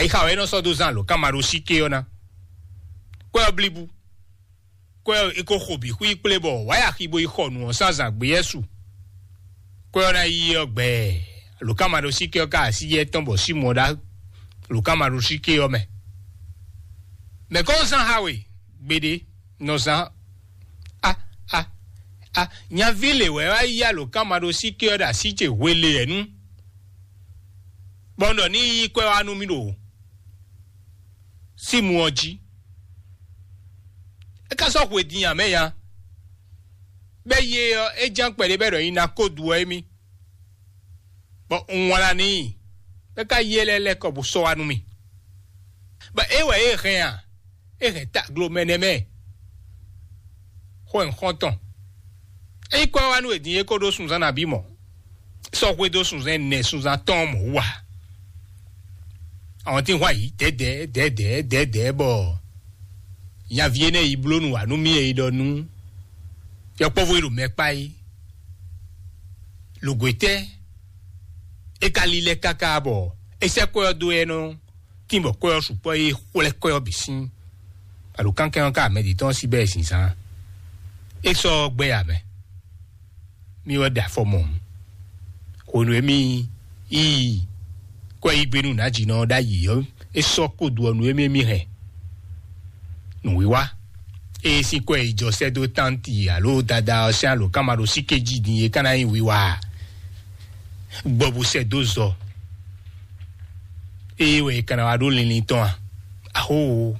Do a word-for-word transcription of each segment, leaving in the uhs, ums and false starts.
Ixa wɛ é nɔ sɔ́ dó zán alǒkanmaɖósíké ɔ́ ná. Kwɛ́ ɔ́ blíbú. Kwɛ́ ɔ́, é ko xo bǐ xwí kplé bɔ wǎ yi axi bo yi xɔ nǔ ɔ́ sín azǎn gbé yɛ́ su. Kwɛ́ ɔ́ ná yi ɔ́ gbɛɛ, alǒkanmaɖósíké ɔ́ ka así yɛ tɔn bɔ Símɔn ɖá alǒkanmaɖósíké ɔ́ mɛ. Mɛ̌ kɔn zán xa we gbeɖé nɔ zán? A a a nyaví lě wɛ wá yí alǒkanmaɖósíké ɔ́ ɖo así ce hweleyɛ̌nu, bɔ un ɖɔ ní yí kwɛ́ wá nú mì ɖo Símɔn ɔ́ jí. É ka sɔ́ hwe din ǎ mɛ ya. Bɛ́ yé ɔ́, é ján kpɛɖé bɛ́ ɖɔ nyi ná kó du ɔ́ émí, bɔ un wlán n'i, bɔ é ka yí ɛ lɛ́ lɛ́ kɔ bó sɔ́ wá nú mì. Bɔ é wɛ é hɛn a? É hɛn taglo mɛ nɛ́ mɛ. Xó nyǐkɔ tɔn. É nyí kwɛ́ wá nú è din é ko ɖó sunnzán nabí mɔ̌. Sɔ́ xwedó sunnzán ɛnɛ sunnzán tɔn mɔ̌ wú a? Àwọn tí ń hwan yǐ dɛ̌dɛ̌ dɛ̌dɛ̌ dɛ̌dɛ̌ bɔ nyaví énɛ́ yi bló nǔ wá nú mì e yi ɖɔ nú yɔkpɔ́vú e ɖo mɛ kpá é. Lǒgwetɛ́ é ka lílɛ́ káká bɔ é sɛ́ kwɛ́ ɔ́ dó ɛ nɔ tín bɔ kwɛ́ ɔ́ sukpɔ́ é xwlɛ́ kwɛ́ ɔ́ bǐ sín. Alǒkankɛn ɔ́ ka mɛ ɖě tɔn sí bɛ́ zinzán. É sɔ́ gbɛ́ ǎ mɛ. Mì wɛ ɖe afɔ mɔ̌. Hwenu e mì yi kwɛ́yígbénu nǎjínɔ ɔ́ ɖ'ayǐ ɔ́, é sɔ́ kó do ɔ́ nú émí émí hɛn. Nǔwiwa ée sín kwɛ́ yi jɔ sɛ́ dó tánti alo dada ɔ́ sín alǒkanmaɖósíké jí din é ka ná nyí wiwa ǎ. Gbɔ bó sɛ́ dó zɔ. Ée wɛ è ka ná wá ɖó linlin tɔn a? Axóo!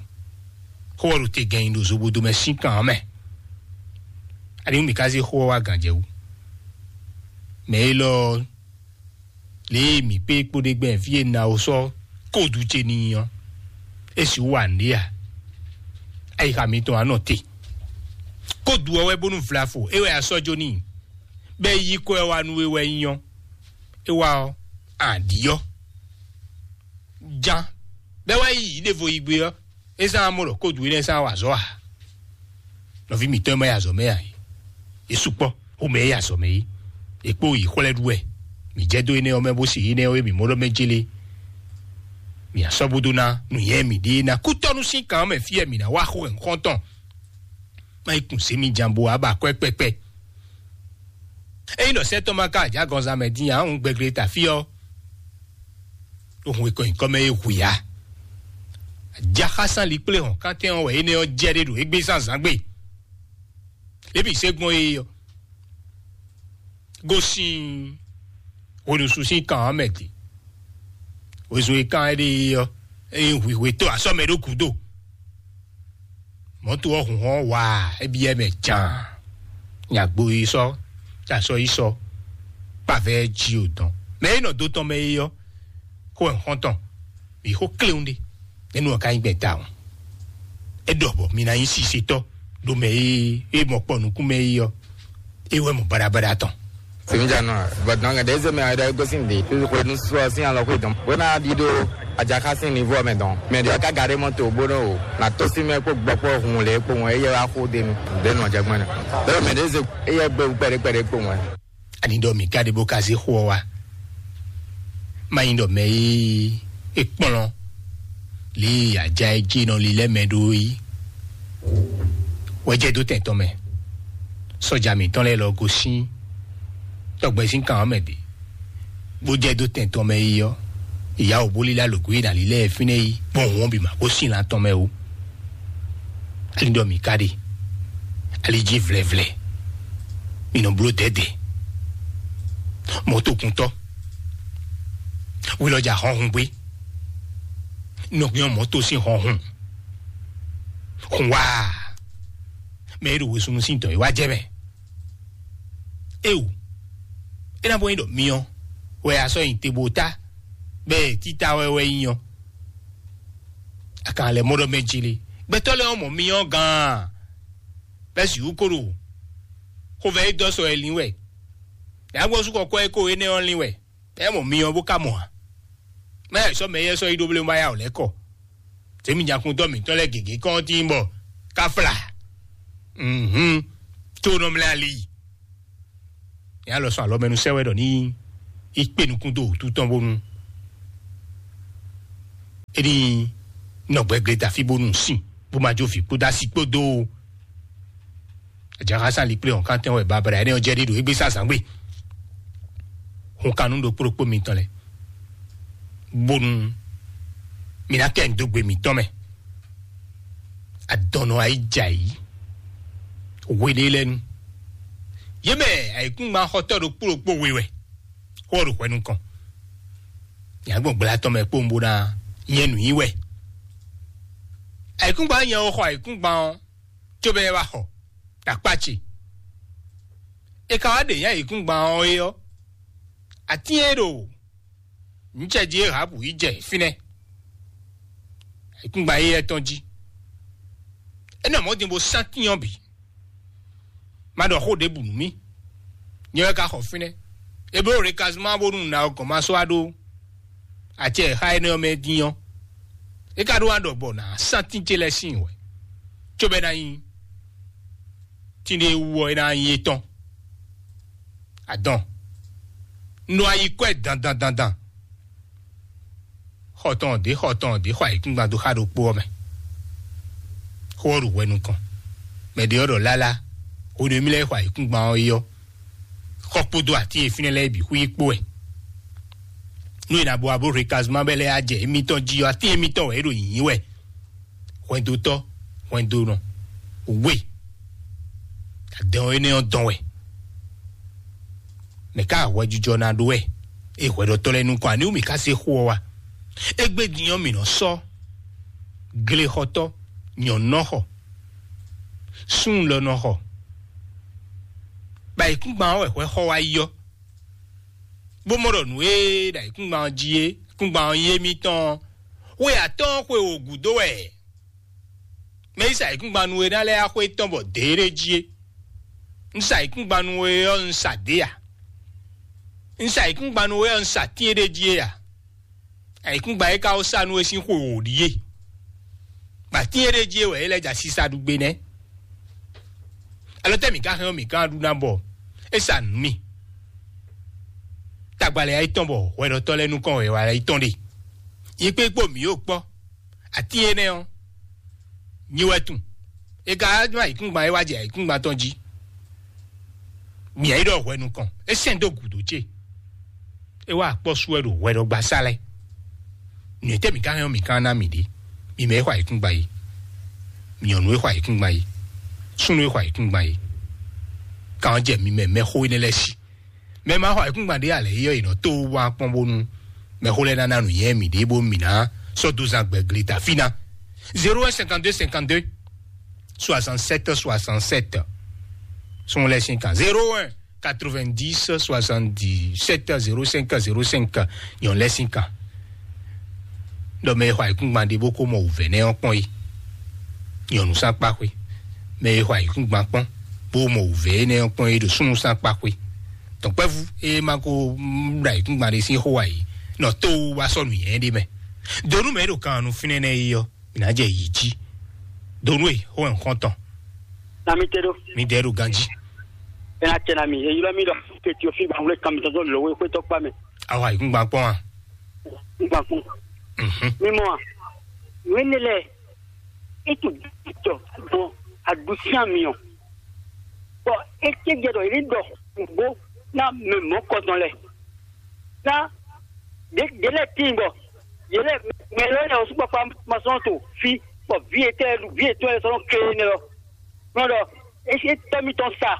Xó ɔ́ ɖo te gɛn nyi ɖo zobodo mɛ sín kan ɔ́ mɛ. Aniwú mǐ ka zé xó ɔ́ wá gǎn jɛ wú? Mɛ élɔ́ ɔ́, lě e mǐ kpé kpóɖé gbɛ́ fí e Nawo sɔ́ kódu ce n'i ɔ́, é sixú wa nǔɖé a? Ayixa mitɔn wá nɔ te. Kódu ɔ́ wɛ bónú vlafo é wɛ a sɔ́ jó n'i, bɔ é yí kɔ ɛ wá nú we wɛ nyí ɔ́, é wá ɔ́, a ɖǐ ɔ́. Jan bɛ́ wá yi yǐ ɖěvo yi gbé ɔ́, é zán amɔ ɖɔ kódu énɛ́ zán wa azɔ̌ ǎ. Nɔví mǐtɔn e ma yi azɔ̌ mɛ ǎ é, é sukpɔ́ xomɛ e yi azɔ̌ mɛ é, è kpó yi xwlɛ́ ɖu wɛ. Mǐ jɛ dó énɛ́ ɔ́ mɛ bó se énɛ́ ɔ́ e mǐ mɔ ɖɔ mɛ jélé. Mǐ asɔ́ bó dó ná nǔnyɛ mǐɖée ná kútɔ́nú sín kan ɔ́ mɛ fí wɛ mǐ ná wá xo wɛ nǔxɔ́ntɔn. Má yi kun zě mi jan bo wá ba akwɛ́ kpɛkpɛ. Ényí ɖɔ sɛ́ tɔn ma ka ajǎgɔnzán mɛ dín ǎ, un gbɛgle ta fí ɔ́, ɖo hun e kɔ nyǐkɔ mɛ é hu ya. Ajaxásán likplé hɔn kántɛn ɔ́ wɛ énɛ́ ɔ́ jɛ ɖé ɖo égbé zán zǎngbe. Ébi se gbɔn é ɔ́, gosín hweɖusu sín kan ɔ́ mɛ din. Wezun e kan é ɖe é ɔ́, é nyí hwǐhwetɔ́ asɔ́ mɛ ɖó gǔdo. Mɔ̌to ɔ́ hun hɔn waa, é byɔ́ mɛ jaan. Nyagbo yi sɔ́, ta sɔ́ yi sɔ́, kpavɛ jí o dɔn. Mɛ e nɔ dó tɔn mɛ é ɔ́, xó wɛ xɔ́ntɔn, mǐ xó kléwún ɖé. Énú ɔ́ ka nyí gbɛn tawun. É ɖɔ bɔ mi ná nyí sisetɔ́ ɖo mɛ e é mɔ kpɔ nukún mɛ é ɔ́, é wɛ mɔ baɖabaɖa tɔn. Simi jana, but donc des me ada gosin de tu ko nu so sin ala ko dum. Wena di do aja ka sin niveau me donc. Mais de ka garé moto bono na to si me ko gbɔ ko hun le ko won eye wa ko de nu. De no jagmana. De me des eye gbe pere pere ko won. Ani ɖɔ mǐ ka ɖe bó ka zé xó ɔ́ wá. Má nyí ɖɔ mɛ e é kplɔ́n lě e aja e jí nɔ lilɛ́ mɛ ɖó é. Wɛ jɛ dó tɛn tɔn mɛ. Sɔ́ja mǐtɔn lɛ́ɛ lɔ gosín tɔgbɛzín kan ɔ́ mɛ ɖě, bó jɛ dó tɛn tɔn mɛ yi ɔ́, ìyá wǒ bó lílá lǒgó e nǎ lílá ɛ fínɛ́ yi gbɔn hǔn ɔ́ bǐ ma gosín lan tɔn mɛ ó. Ali ɖɔ mǐ ka ɖe, ali jí vlɛvlɛ, mǐ nɔ bló dɛ̌dɛ̌. Mɔ̌tokuntɔ́, hwelɔ́jà hɔnhun gbé, nɔ nyɔ́ mɔ̌to sín hɔnhun. Hun wá, mɛ e ɖo wezunnu sín dɔ̌ e wá jɛ mɛ. Éwu, é ná bɔ nyí ɖɔ myɔ wɛ a sɔ́ nyi te bó tá, bɛ́ títá wɛ wɛ nyí ɔ́, a ka lɛ mɔ ɖɔ mɛ jlé. Gbɛtɔ́ lɛ́ɛ ɔ́ mɔ myɔ gán, bɛ́ sixú ko ɖo xovɛ e dɔ́ sɔ wɛ lín wɛ. Yǎgbɔ́ sú kɔkɔ́ e ko énɛ́ ɔ́ lín wɛ. Ɛ mɔ myɔ bó ka mɔ ǎ. Mɛ ɛ sɔ́ mɛ yɛ sɔ́ yi ɖó blé ma ya ò lɛ́ kɔ. Tèmi nyakuntɔ́ mǐtɔn lɛ́ɛ gěgé kɔn tín bɔ ká fla. Mhm. Tó nɔ mlɛ ali. Ní alɔ sɔn alɔ mɛ nu sɛ wɛ ɖɔ ní í kpé nukún dó wǔtu tɔn bónú. É ní nɔ gbɛgbɛ da fí bónú sin bó ma jó vǐ kpódó asi kpódó. Àjàká sán likplé hɔn kántɛn wɛ babra ɛnɛ ɔ́ jɛ ɖi ɖo égbé sá zǎngbé. Hun kanú ɖokpó ɖokpó mitɔn lɛ bónú mi ná kɛ nǔ dó gbe mǐtɔn mɛ. Adɔnnɔ ayí jɛ ayǐ hweɖé lɛ́ɛ nu. Yě mɛ ayǐkúngban xɔtɔ́ ɖokpó ɖokpó we wɛ xó ɔ́ ɖo hwɛ nukɔn. Nyɛ gbɔn gbla tɔn mɛ kpowun bó ná nyɛ nǔ nyi wɛ. Ayǐkúngban nyɛ xɔ ayǐkúngban ɔ́, cóbɔ é wá xɔ ɖo akpá ce. È ka wá ɖe nyɛ ayǐkúngban ɔ́ é ɔ́, atín e ɖo nǔcɛjí e Rahabu yi jɛ fínɛ́, ayǐkúngban éyɛ́ tɔn jí. É nɔ mɔ̌ din bó sán tín ɔ́ bǐ. Má ɖɔ xó ɖěbǔ nú mì. Nyɛ wɛ ka xɔ fínɛ́. Ebléwu ɖě ka zɔ́n má bónú nǎ ɔ́ gɔ̌n má sɔ́ wá ɖó acɛ e xá énɛ́ ɔ́ mɛ dín ɔ́. É ka ɖó wá ɖɔ bɔ nǎ sán tín ce lɛ́ɛ sín wɛ, cóbɔ é ná nyí tín ɖé wú ɔ́, é ná nyí étɔn. Adɔn. Un ɖo ayi kɔ́ ɛ dandan dandan. Xɔ tɔn ɔ́ ɖě, xɔ tɔn ɔ́ ɖě, xɔ ayǐkúngban dó xá ɖokpó ɔ́ mɛ. Xó ɔ́ ɖo hwɛ nukɔn. Mɛ ɖě ɔ́ ɖɔ lálá, hwenu e mì lɛ́ xɔ ayǐkúngban ɔ́ é ɔ́, xɔ kpódó atín e fínɛ́ lɛ́ɛ bǐ xwí kpó wɛ. Nú è nǎ bo wá bó hwe kazuma bɛ́ lɛ́ɛ á jɛ émítɔn jí ɔ́, atín émítɔn wɛ é ɖo nyǐnyí wɛ. Hwɛndotɔ́, hwɛndonɔ, we, adɛn ɔ́ énɛ́ ɔ́ dɔn wɛ. Mɛ ká hwɛjijɔ ná ɖó wɛ, é hwɛɖɔtɔ́ lɛ́ɛ nukɔn aniwú mǐ ká se xó ɔ́ wá? Égbé din ɔ́, mǐ nɔ sɔ́ glexɔtɔ́, nyɔ̌nɔxɔ, súnlɔnɔxɔ, bɔ ayǐkúngban ɔ́ wɛ hwɛ xɔ wá yi ɔ́, bó mɔ ɖɔ nǔ e ɖo ayǐkúngban ɔ́ jí é, ayǐkúngban ɔ́ nyí émítɔn ɔ́, xwe atɔ́ɔ́n xwe wǒ gúdo wɛ mɛ e sa ayǐkúngban nú we ná lɛ́ɛ axwé tɔn bɔ dě ɖé jí é. Un sa ayǐkúngban nú we ɔ́, un sa dě ǎ. Un sa ayǐkúngban nú we ɔ́, un sa tín é ɖé jí é ǎ. Ayǐkúngban e ka wó sa nú we sín xwe wǒ ɖíe. Bɔ atín e ɖ'é jí é wɛ é lɛ́ jɛ asisa ɖu gbe nɛ́. Alɔ tɛ́ mǐ ka hɛn ɔ́, mǐ gán ɖu ná bɔ é sa nǔ mì. Tagbalɛ ayí tɔn bɔ hwɛɖɔtɔ́ lɛ́ɛ nukɔn wɛ wala yi tɔn ɖe. Yi kpé kpó mǐ yóò kpɔ́. Atín énɛ́ ɔ́, nyi wɛ tun. É ka wá nú ayǐkúngban é wá jɛ ayǐkúngban tɔn jí. Mǐ yí ɖɔ hwɛ nukɔn, é sɛn dó gǔdo ce. É wá akpɔ́ sú wɛ ɖo hwɛɖɔgbasá lɛ́ɛ. Nǔ e tɛ́ mǐ ka hɛn ɔ́, mǐ ka ná mǐ ɖě. Mi mɛ e xɔ ayǐkúngban yi, nyɔ̌nu e xɔ ayǐkúngban yi, súnnu e xɔ ayǐkúngban yi, kan ɔ́ jɛ mi mɛ mɛxó énɛ́ lɛ́ɛ sí. Mɛ ma xɔ ayǐkúngban ɖé alɛ yɔ yě nɔ tó wá kpɔ́n bónú mɛxó lɛ́ɛ ná ná nǔnywɛ́ mǐ ɖě bónú mǐ ná sɔ́ dó zán gbɛ̌ gleta fí ná. Zéro un cinquante-deux cinquante-deux soixante-sept soixante-sept. Súnnu lɛ́ɛ sín kan zéro un quatre-vingt-dix soixante-dix-sept zéro cinq zéro cinq. Nyɔ̌nu lɛ́ɛ sín kan. Ɖɔ mɛ e xɔ ayǐkúngban ɖé bó ko mɔ wǔvɛ́ nɛ́ ɔ́ kpɔ́n é, nyɔ̌nu sín akpá xwé. Mɛ e xɔ ayǐkúngban kpɔ́n bó mɔ wǔvɛ́ nɛ́ ɔ́ kpɔ́n é ɖo súnnu sín akpá xwé. Dɔ̌nkpɛ́vú e ma ko ɖo ayǐkúngban ɖé sín xó ǎ é, nɔ tó wá sɔ́ nǔnywɛ́ ɖé mɛ. Donu mɛ e ɖo kan ɔ́ nú fínɛ́ nɛ́ é ɔ́, mǐ ná jɛ yǐ jí. Donu e xó wɛ un xɔ́n tɔn. Na mi te ɖo. Mi dɛ ɖo ganjí. Ena tɛ na mi, e ylɔ mi ɖɔ ke tio fi ba wle kan mi tɔn lo we xwe tɔ kpa mɛ. Awa yi kungba kpɔn a? Kungba kpɔn. Mhm. Mi mɔ a? Wene lɛ, e tu tɔ bɔ adusia mi ɔ. Bɔ e tɛ jɛ dɔ yi dɔ bo na mɛ mɔ kɔtɔn lɛ. Na de de lɛ tin bɔ ye lɛ mɛ lɛ lɛ o sukpakpa ma sɔn to fi bɔ vi etɛ vi etɔ lɛ sɔn kle ne lɔ. Nɔ ɖɔ esi etɔ mitɔn sa,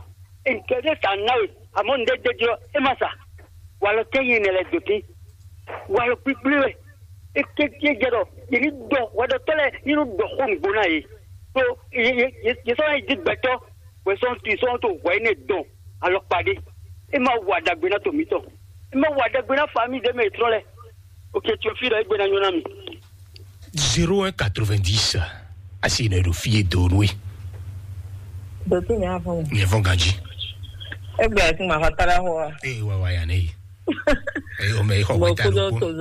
ntɔ́ ɖé sa ná we, amɔ̌ ŋɖé ɖé jí ɔ́, é ma sa. Walɔ tɛ́ nyɛ nɛ lɛ dǒtín. Walɔ kpíkplí wɛ. É ké é jɛ ɖɔ yě ní ɖɔ hwɛɖɔtɔ́ lɛ́ɛ ní nɔ ɖɔ xó nǔgbó ná yě. Ɖó yě yě yě yě sɔ́ ná yi dí gbɛtɔ́ wɛ sɔ́ ti sɔ́ to hwɛ énɛ́ dɔn alɔkpa ɖé. É ma wa ɖagbe ná to mǐtɔn. É ma wa ɖagbe ná fa mì ɖé mɛ yětrɔ́ lɛ́ɛ. Ok, tso fí ɖɔ égbé ná nyɔ́ ná mì. Zéro un quatre-vingt-dix. Asi nɔ ɖo fie do nue. Dotí mi afɔ mi. Nyɛ fɔ ganji. Egbe ati ma fa tara hɔ wa. Ee wa wa ya ne yi. Ee o mɛ yi xɔ wɛ ta ló kó.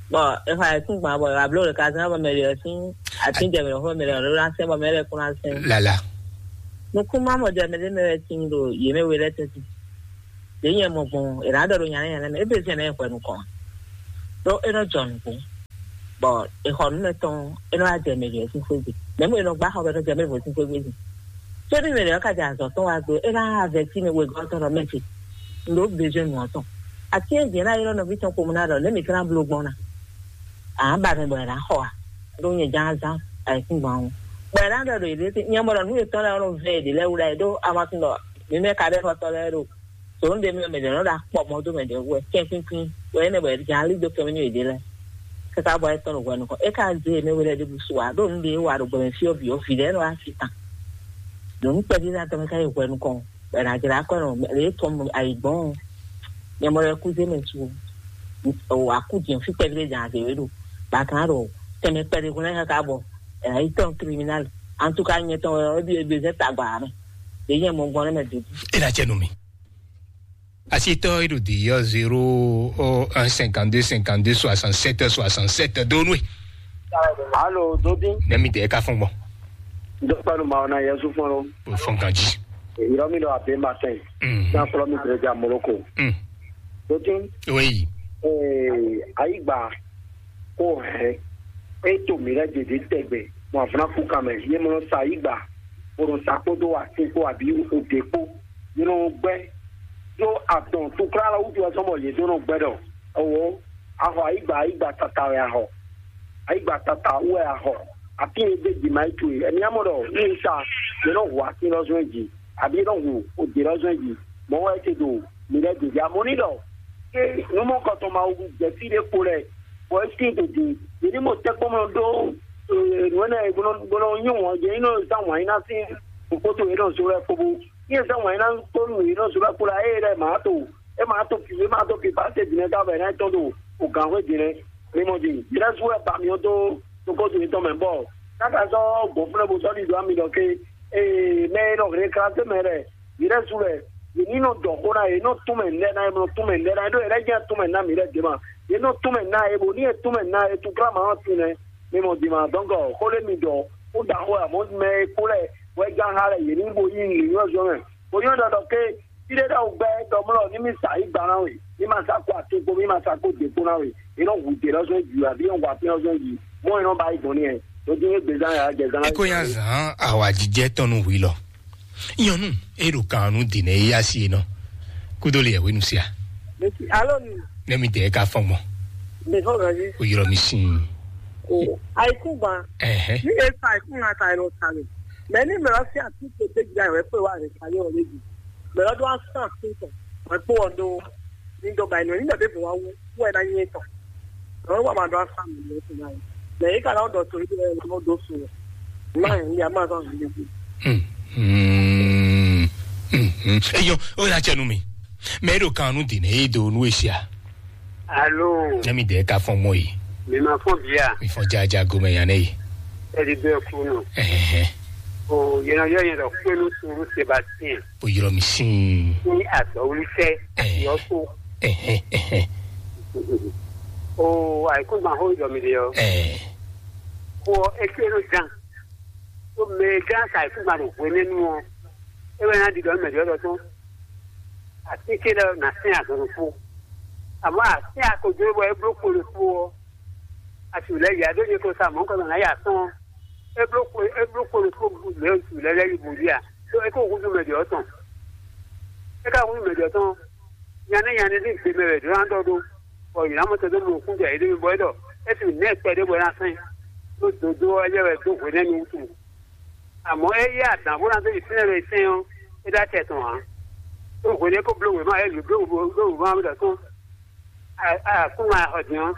Bɔn efa yɛ tún gbɔn abɔ ablo le ka sɛn abɔ mɛ le yɛ tún ati jɛ mɛ lɔfɔ mɛ le lɔ la sɛn bɔ mɛ le kún la sɛn. Lala. Nukun ma mɔ jɛ mɛ le mɛ le tin do yɛ mɛ we lɛ tɛ ti. Yɛ nyɛ mɔ gbɔn e la dɔ do nya ne nya ne mɛ ebe sɛn ne xɔ nukɔn. Do e nɔ jɔ nukun. Bɔ exɔ nú mɛ tɔn, e nɔ wá jɛ mɛ ɖě sín xwé gbe. Mɛ mɔ e nɔ gbá xɔ bɛ nɔ jɛ mɛ vo sín xwé gbe. Tó ní mɛ ɖě ka jɛ azɔ tɔn wá gbe, e ná avɛtí mɛ wegɔ́ tɔn ɖɔ mɛ ce, ndo bezwe nɔ tɔn. Ati e jɛ na yɔrɔ nɔvi tɔn ko mu na ɖɔ ne mi kana blo gbɔn na. A ba mɛ bɔ e na xɔ a. Ɖo nyɛ ján azán ayikúngban o. Bɔ e na ɖɔ ɖo yě ɖe nyɛ mɔ ɖɔ nú yětɔn lɛ ɔlɔ vɛ ɖě lɛ wla e ɖo amasin ɖɔ mi mɛ ka ɖe xɔtɔ lɛ ɖo. Tòun ɖe mɛ mɛ ɖě nɔ ɖo akpɔ mɔ dó mɛ ɖě wɛ kɛnkwínkwín wɛ énɛ́ bɔ è jǎn lí dó kɛmɛ nú yěɖée lɛ́ɛ. Káká bɔ é tɔ́n ɖo hwɛ nukɔn, é ka zé mɛ we lɛ́ɛ ɖěbǔ su ǎ ɖo nǔ ɖé wa ɖo gbɔmɛ fí ɔ́ bǐ ɔ́ vǐ lɛ́ɛ nɔ wá sí tán. Ɖo nǔ kpɛví ná tɔn mɛ ká yi hwɛ nukɔn bɔ è nǎ jlá kɔ nɔ lě tɔn ayǐgbɔn ɔ́. Nyɛ mɔ lɛ́ɛ kú zé mɛ su o. Akú jɛn fí kpɛví ɖé jǎn azě wé ɖo bàtán ɖo tɛmɛ kpɛɖé hwlɛ́n káká bɔ è nǎ yi tɔn criminal. Antuka nyɛ tɔn wɛ ɔ́ ɖi ebezɛ tagba mɛ. Ɖě nyɛ mɔ gbɔn nɛ mɛ dodú. É ná jɛ nú mi. Asitɔ e ɖo di yɔ zéro un cinquante-deux cinquante-deux soixante-sept soixante-sept donu e. Alo, Dodi. Nɛmi de ka fɔn gbɔn. Dɔkpanu ma ɔna Yesu fɔn lo. O fɔn kan ji. Yɔrɔ mi ɖo abe ma tɛn. Mm. San fɔlɔ mi tere ja Moroko. Mm. Dodi. Oui. Ee, ayigba ko hɛn. E to mi lɛ dede tɛgbɛ. Mo avuna ku kan mɛ. Ye mo sa ayigba. Mo sa kpodo wa ti ko abi o de kpo. Yě nɔ gbɛ́ ɖó adɔn túkúrálɔ wútu wɛ sɔ́ bɔ yě ɖó nɔ gbɛ́ ɖɔ ewǒ, a xɔ ayǐgba, ayǐgba tata wɛ a xɔ, ayǐgba tata wú wɛ a xɔ. Atín e gbé jǐ ma yi towe, ɛmí amɔ ɖɔ ní sa yě nɔ hu atín lɔ zɔn jí, abǐ yě nɔ hu òdě lɔ zɔn jí, mɔ̌ wɛ é te ɖo mǐ lɛ́ɛ gěgé amɔ̌ ní ɖɔ ké nǔmɔkɔtɔn ma wú jɛ fí ɖé kpo lɛ́ɛ, bɔ é sín dǒdó yě ní mɔ tɛ́nkpɔ́n mɔ ɖó nǔ énɛ́ bó nɔ nyí wɔn yě ní nɔ zán wǎn nyí ná sín nǔkpótó yě nɔ zó lɛ́ɛ kpóbó. Ní e zán wǎn yí ná kpó nú yě nɔ zó lɛ́ kpo la, ée lɛ́ɛ mǎ to, é ma to pi, é ma to pi pase dǐnɛ́ ká bɔ é ná tɔn ɖo o gǎnxwé dǐnɛ́. Mɛ mɔ din, dǐnɛ́ sú wɛ ba mì ɔ́ dó toxódo yětɔn mɛ bɔ káka sɔ́ gbɔn fúnɛ́ bó sɔ́ ɖi dó ami ɖɔ ké, ee, mɛ e nɔ hɛn klase mɛ lɛ́ɛ, dǐnɛ́ sú lɛ́ɛ, yě ní nɔ dɔ xó ná yě, nɔ tún mɛ nɛ́ ná yě, nɔ tún mɛ nɛ́ ná yě, ɖó yě lɛ́ jẹ́ tún mɛ ná mǐ lɛ́ɛ dě ma. Yě nɔ tún mɛ ná yě, bó ní e tún mɛ ná yě, tún klá ma ɔ́ tún nɛ́. Mɛ mɔ din ma dɔn gɔ xó lé mi dɔ, ó da xó ɛ, mɔ mɛ e kó lɛ́ɛ wɛ gán xá lɛ́ɛ yě ní bo yí nǔnywɛ́ zɔn mɛ. Bó nyɔ́ ɖɔ ɖɔ ké fí ɖé ɖɔ gbɛ ɖɔ mlɔ ní mi sa yí gba ná we, ní ma sa kó atín kpó, ní ma sa kó dě kpó ná we. È nɔ hu dě lɔ zɔn jǔ abí è nɔ hu atín lɔ zɔn jǐ, mɔ è nɔ ba yi gbɔn ní ɛ. Lójú ní gbèzán yà jẹ zán. Eko ya zan awajijɛ tɔn nu hui lɔ. Nyɔnu e ɖo kan nu dine e asi e nɔ. Kudo le ɛwé nu sia. Alo ni. Ne mi de ka fɔn gbɔn. Mi fɔ gɔzi. O yɔrɔ mi sin. O ayikun gban. Ɛhɛ. Ní e sa ayikun na ta ɛ lɔ ta mi. Mɛ ní mɛ lɔ fi ati to de gba wɛ pe wa rɛ kali o lebi. Mɛ lɔ do asan asin tɔ. Wɛ kpo ɔ do. Ní dɔ ba inú ní dɔ de bɔ wa wu. Wɛ na nyɛ tɔ. Lɔ wa ma do asan mi lɛ tɔ na yi. Mɛ yi ka na dɔ to yi de lɔ do su. Ma yi ya ma sɔ mi lebi. Hmm. Hmm. Hmm. Eyo, o na cɛ nu mi. Mɛ ɖo kan nu dine e do nu esia. Alo. Ne mi de ka fɔn mɔ yi. Mi ma fɔn bia. Mi fɔn jaja gomɛ yan ne yi. Ɛdi bɛ kunu. Ɛhɛn. O yɛn yɔ yɛn dɔ kpenu suru Sébastien. O yɔrɔ mi sin. Ni azɔwulisɛ. Ɛhɛn. Yɔ so. Ɛhɛn, ɛhɛn. O ayikun ma ho yɔ mi de yɔ. Ɛhɛn. Ko ekenu jan. Ko mɛ jan sa ayikun ma ɖo hwenɛnu ɔ. E wɛ na di dɔ mɛ di ɔ dɔ tɔn. Atínkè lɛ́ɛ ná sɛ́n azɔn ɖokpó. Amɔ̌ atín akojo bɔ é bló kpo ɖokpó ɔ́, asi wǔ lɛ́ yi adó nyɛ ko sa mɔ̌ kɔ nɔ ná yi atɔ́ɔ́n. É bló kpo é bló kpo ɖokpó lě otu lɛ́ lɛ́ yi bǔ ɖi a? Ɖó é ko húzú mɛ ɖě ɔ́ tɔn. É ka húzú mɛ ɖě ɔ́ tɔn. Nya nɛ́ nya nɛ́ ní gbe mɛ wɛ ɖó ná ɖɔ ɖó, bɔ yě ná mɔ tɛn dó mɔ kún jɛ yě ɖé mi bɔ é ɖɔ é sixú nɛ́ kpɛɖé bɔ é ná sɛ́n. Ɖó dodó ɔ́ é jɛ wɛ dó hwenɛ́nu wútu. Àmọ́ é yí àdán bó ná dó yi fínɛ́ lɔ yi sɛ́n ɔ́, é ɖó acɛ tɔn ǎ. Ɖó hwenɛ́ kó bló wěma, é bló bló wěma ɔ́ ɖɔ tɔn. Akúnma xɔ din ɔ́,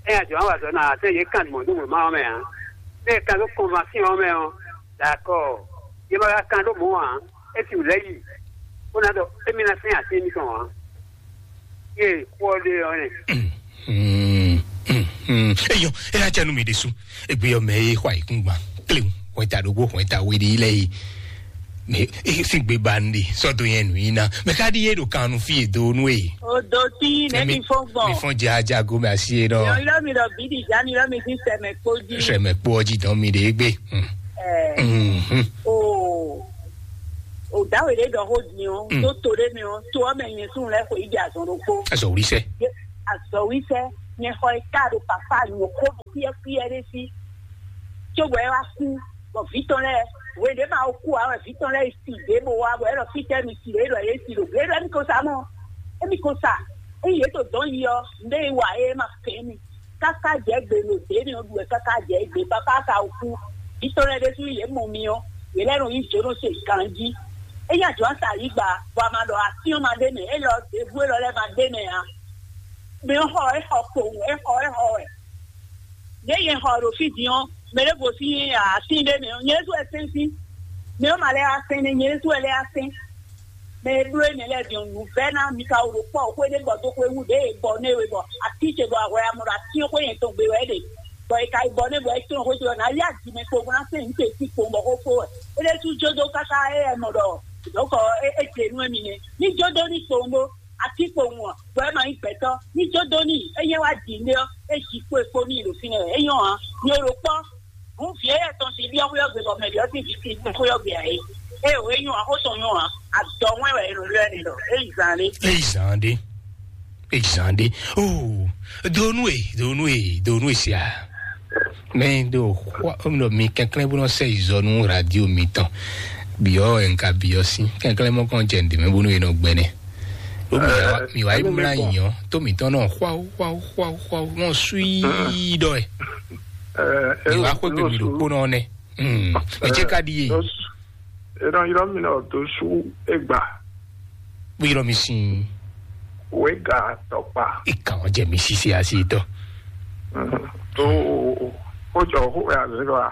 é nya jɔ wá wà dɔ̌ ná àtɛ́ yě kan mɔ̌ dó wěma ɔ́ mɛ ǎ. Bẹ́ẹ̀ kan dó kɔnvasíɔn ɔ́ mɛ ɔ́, dakɔ, yě ma ka kan ɖó mɔ̌ ǎ, é sixú lɛ́ yi, bó ná ɖɔ émí ná sɛ́n así émítɔn ǎ. Yé kpɔ́ ɖé ɔ́ nɛ. Eyɔ, é ná jɛ nú mi ɖésú. Egbe ɔ́ mɛ é xɔ ayǐkúngban kléwu, hwɛta ɖokpó, hwɛta we ɖé lɛ́ɛ é. Mɛ é sín gbe ba nu ɖe sɔ́ dó nyɛ nǔ nyi ná. Mɛ ká ɖíe ɖo kan nu fí e do nú e. Odoti, nɛ mi fɔn gbɔn. Mi fɔn jajago mɛ asi e nɔ. Yɔ yɔ mi ɖɔ bíɖi ja mi yɔ mi fi sɛmɛ kpó jí. Sɛmɛ kpó ɔjí dɔn mi ɖe gbe. Ɛɛ. Mhm. O. O dawe ɖe ɖɔ xó din o. Mm. Tó to ɖe mi o. Tó ɔmɛ nyɛ sún lɛ xo yi di azɔn ɖokpó. Azɔ wuli sɛ. Azɔ wuli sɛ. Nyɛ xɔ e ka ɖo papa nyɔ̌xó ɖo xwíɛ́xwíɛ́ ɖé sí, cóbɔ é wá kú, bɔ vǐ tɔn lɛ́ɛ, hwe ɖě ma wo kú ǎ wɛ vǐ tɔn lɛ́ɛ yi si ɖě bó wá, bɔ é ɖɔ fítɛ́ mi si ɖě ɖɔ yě si ɖo gbě ɖɔ émí ko sa mɔ, émí ko sa, ényí yě to dɔ̌n yi ɔ́, nǔɖé e wa é ma kɛn émí, káká jɛ gbe ɖo dě mi ɔ́ ɖu wɛ káká jɛ gbe papa ka wo kú, vǐ tɔn lɛ́ɛ ɖésú yě mɔ mi ɔ́, yě lɛ́ nɔ yí jǒnɔ se ganjí. É nyí ajɔ̌ sa yí gba, bɔ a ma ɖɔ atín ɔ́ ma ɖ'é mɛ, élɔ́ ɖěbǔ élɔ́ lɛ́ɛ ma ɖ'é mɛ ǎ. Mi xɔ é xɔ kpowun, é xɔ é xɔ wɛ. Ɖě nyɛ xɔ ɖo fí din ɔ́, mɛ ɖé gosín atín ɖé mɛ ɔ́, nyɛ ɖésú wɛ sɛ́n sín. Mɛ ɔ́ ma lɛ́ wá sɛ́n nɛ́, nyɛ ɖésú wɛ lɛ́ wá sɛ́n. Mɛ e bló énɛ́ lɛ́ɛ din ɔ́, nǔvɛ́ná mi ka wú ɖo kpɔ́ xwé ɖé bɔ dó xwé wú ɖě e bɔ nɛ́ we bɔ atí ce bɔ ahwɛ amɔ ɖo atín xwé nyɛ tɔn gbe wɛ é ɖe. Bɔ è ka yi bɔ nɛ́ bɔ é tɔn xwé ce ɔ́, ná yá jǐ mɛ kpo bó ná sɛ́n nǔ ce sí kpowun bɔ xó fó wɛ. É ɖésú jó dó káká é wɛ mɔ ɖɔ dɔ̌nkɔ é é jɛ nú émi nɛ́. Ní jó dó ní kpowun ɖó. Atínkpowun ɔ́, bɔ é ma nyí gbɛtɔ́, ní jó dó n'i, é nyɛ wá ji nɖé ɔ́, é ji kpo e kpo n'i ɖo fínɛ́ wɛ. É nyɔ́ ǎ, mi e ɖo kpɔ́, hǔn vǐ éyɛ́ tɔn sín byɔ́ xwé ɔ́ gbe bɔ mɛ bǐ ɔ́ sín vǐ sín xwé ɔ́ gbe ǎ é. É o, é nyɔ́ ǎ, xó tɔn nyɔ́ ǎ, adɔ wɛn wɛ è nɔ ylɔ́ ɛ n'i ɖɔ é yi zan ɖé. É yi zan ɖé. É yi zan ɖé. Oh, donu e, donu e, donu e sia. Mɛ do xwa, mi kɛnklɛ́n bó nɔ sɛ yi zɔ nú radio mitɔn. Biɔ ɛnka biɔ sí. Kɛnklɛ́n mɔ kɔn jɛ ndě mɛ bónú e nɔ gbɛnɛ. Ó mi wá, mi wá yi mlá yìnyɔn tó mǐtɔn náà xwáó xwáó xwáó xwáó náà súí ɖɔ ɛ. Mi wá xwé gbèmí ɖo kpó náà nɛ. Mɛ jẹ́ ká ɖi yé. È nɔ ylɔ́ mì ɖɔ Dosu Egba. Bó ylɔ́ mi sín. Wéga tɔkpa. Ìkà wọn jẹ mi sísè àti ìtọ́. Tó o jọ xó ẹ̀ àzẹ́ lọ a.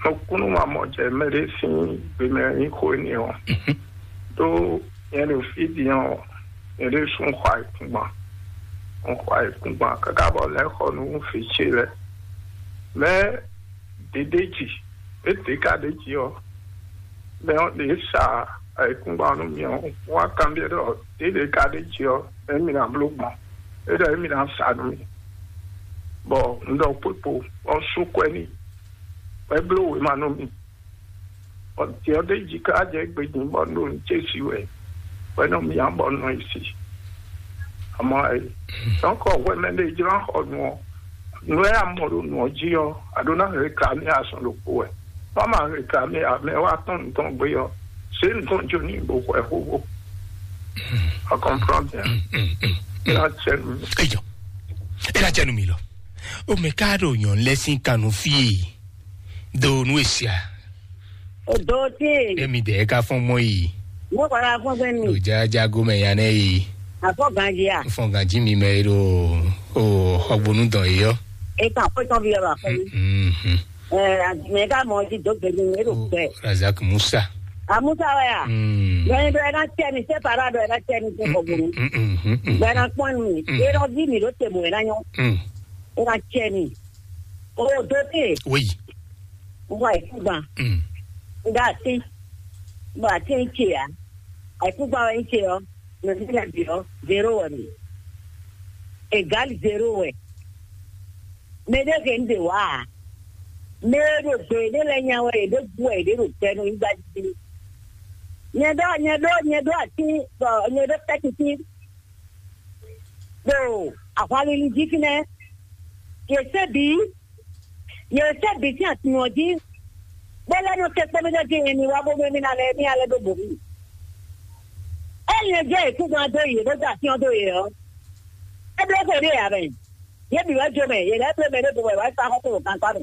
Nukúnnú ma mɔ jẹ mɛ ɖé sín gbemɛ nyí xó énɛ́ ɔ́. Tó nyɛ ɖo fí din ɔ́, nyɛ ɖé sún xɔ ayǐkúngban. Un xɔ ayǐkúngban káká bɔ lɛ́ xɔ nú fǐ ce lɛ́ɛ. Mɛ ɖě ɖ'é jí, é ɖě ka ɖ'é jí ɔ́, mɛ ɔ́ ɖě sa ayǐkúngban nú mì ɔ́, wá kanbyɔ́ ɖɔ ɖě ɖě ka ɖ'é jí ɔ́, émí ná bló gbɔn, é ɖɔ émí ná sa nú mì, bɔ un ɖɔ kpókpo, bɔ un sú kwɛ́ n'i, bɔ é bló wěma nú mì. Bɔ jɛ ɔ́ ɖ'é jí ká jɛ gbedun bɔ un ɖo nǔ ce sí wɛ, bɔ é nɔ myá bɔ un nɔ yi si. Amɔ ɛ, dɔnkɔ hwɛ mɛ ɖé jló xɔ nǔ ɔ́, nǔ e a mɔ ɖo nǔ ɔ́ jí ɔ́, a ɖó ná réclamer azɔn ɖokpó wɛ. Bɔ a ma réclamer ǎ, mɛ wá tɔn nǔ tɔn gbé ɔ́, zě nǔ tɔn jó ní bo xwɛ xóxó. A comprend bien? Ná cɛ nú mi. Eyɔ, é ná cɛ nú mi lɔ. O mɛ ká ɖo nyɔ̌nu lɛ́ɛ sín kan nú fí e do nú e sia. O do tí. Emi dɛ ka fɔn mɔ yi. Mo kɔrɔ afɔ gbɛ mi. Lo ja jago mɛ ya nɛ yi. Afɔ ganji a. Fɔn ganji mi mɛ yi ɖo o xɔgbonu dɔn yi yɔ. E kan ko tɔn bi yɔ ba fɔ mi. Mhm. Ɛ mɛ ka mɔ ji do gbɛ mi e ɖo gbɛ. Razak Musa. A Musa wɛ a. Mm. Bɛn dɔ ɛ na tɛ mi sɛ para dɔ ɛ na tɛ mi sɛ xɔgbonu. Mm, mm, mm, mm, mm. Bɛn na kpɔn mi. Mm. E dɔ vi mi ɖo te mo ɛ na nyɔ. Mm. E na tɛ mi. O do te. Oui. N xɔ ayǐkúngban. Mm. N ɖo atín. N ɖo atín ce ǎ. Ayǐkúngban wɛ nyí ce ɔ́, nɔví lɛ́ɛ bǐ ɔ́, zéro wɛ mi. Égal zéro wɛ. Mɛ ɖé hɛn ɖe wá ǎ. Mɛ e ɖo gbe ɖé lɛ́ɛ nya wɛ, yě ɖo gu wɛ, yě ɖo gbɛ nɔ nyigba jí. Nyɛ ɖɔ, nyɛ ɖɔ, nyɛ ɖɔ atín, bɔ nyɛ ɖɔ tɛ́kítín. Ɖo ahwanlili jí fínɛ́. Yě sɛ́ bǐ, yě sɛ́ bǐ sín atin ɔ́ jí, bó lɛ́ nɔ kɛ kpɛ́mɛ́nɛ́ dín mi wá bó mɛ mì ná lɛ́ mì alɛ ɖó bǒ mì. Ényí è jɛ yě kúngban dó yě bó dó asyɔ́n dó yě ɔ́, é bló xwe ɖé ǎ mɛ. Yě bǐ wɛ jó mɛ, yě lɛ́ bló mɛ ɖé bó wɛ wá sá xɔ́ kó ɖo gankpá mɛ.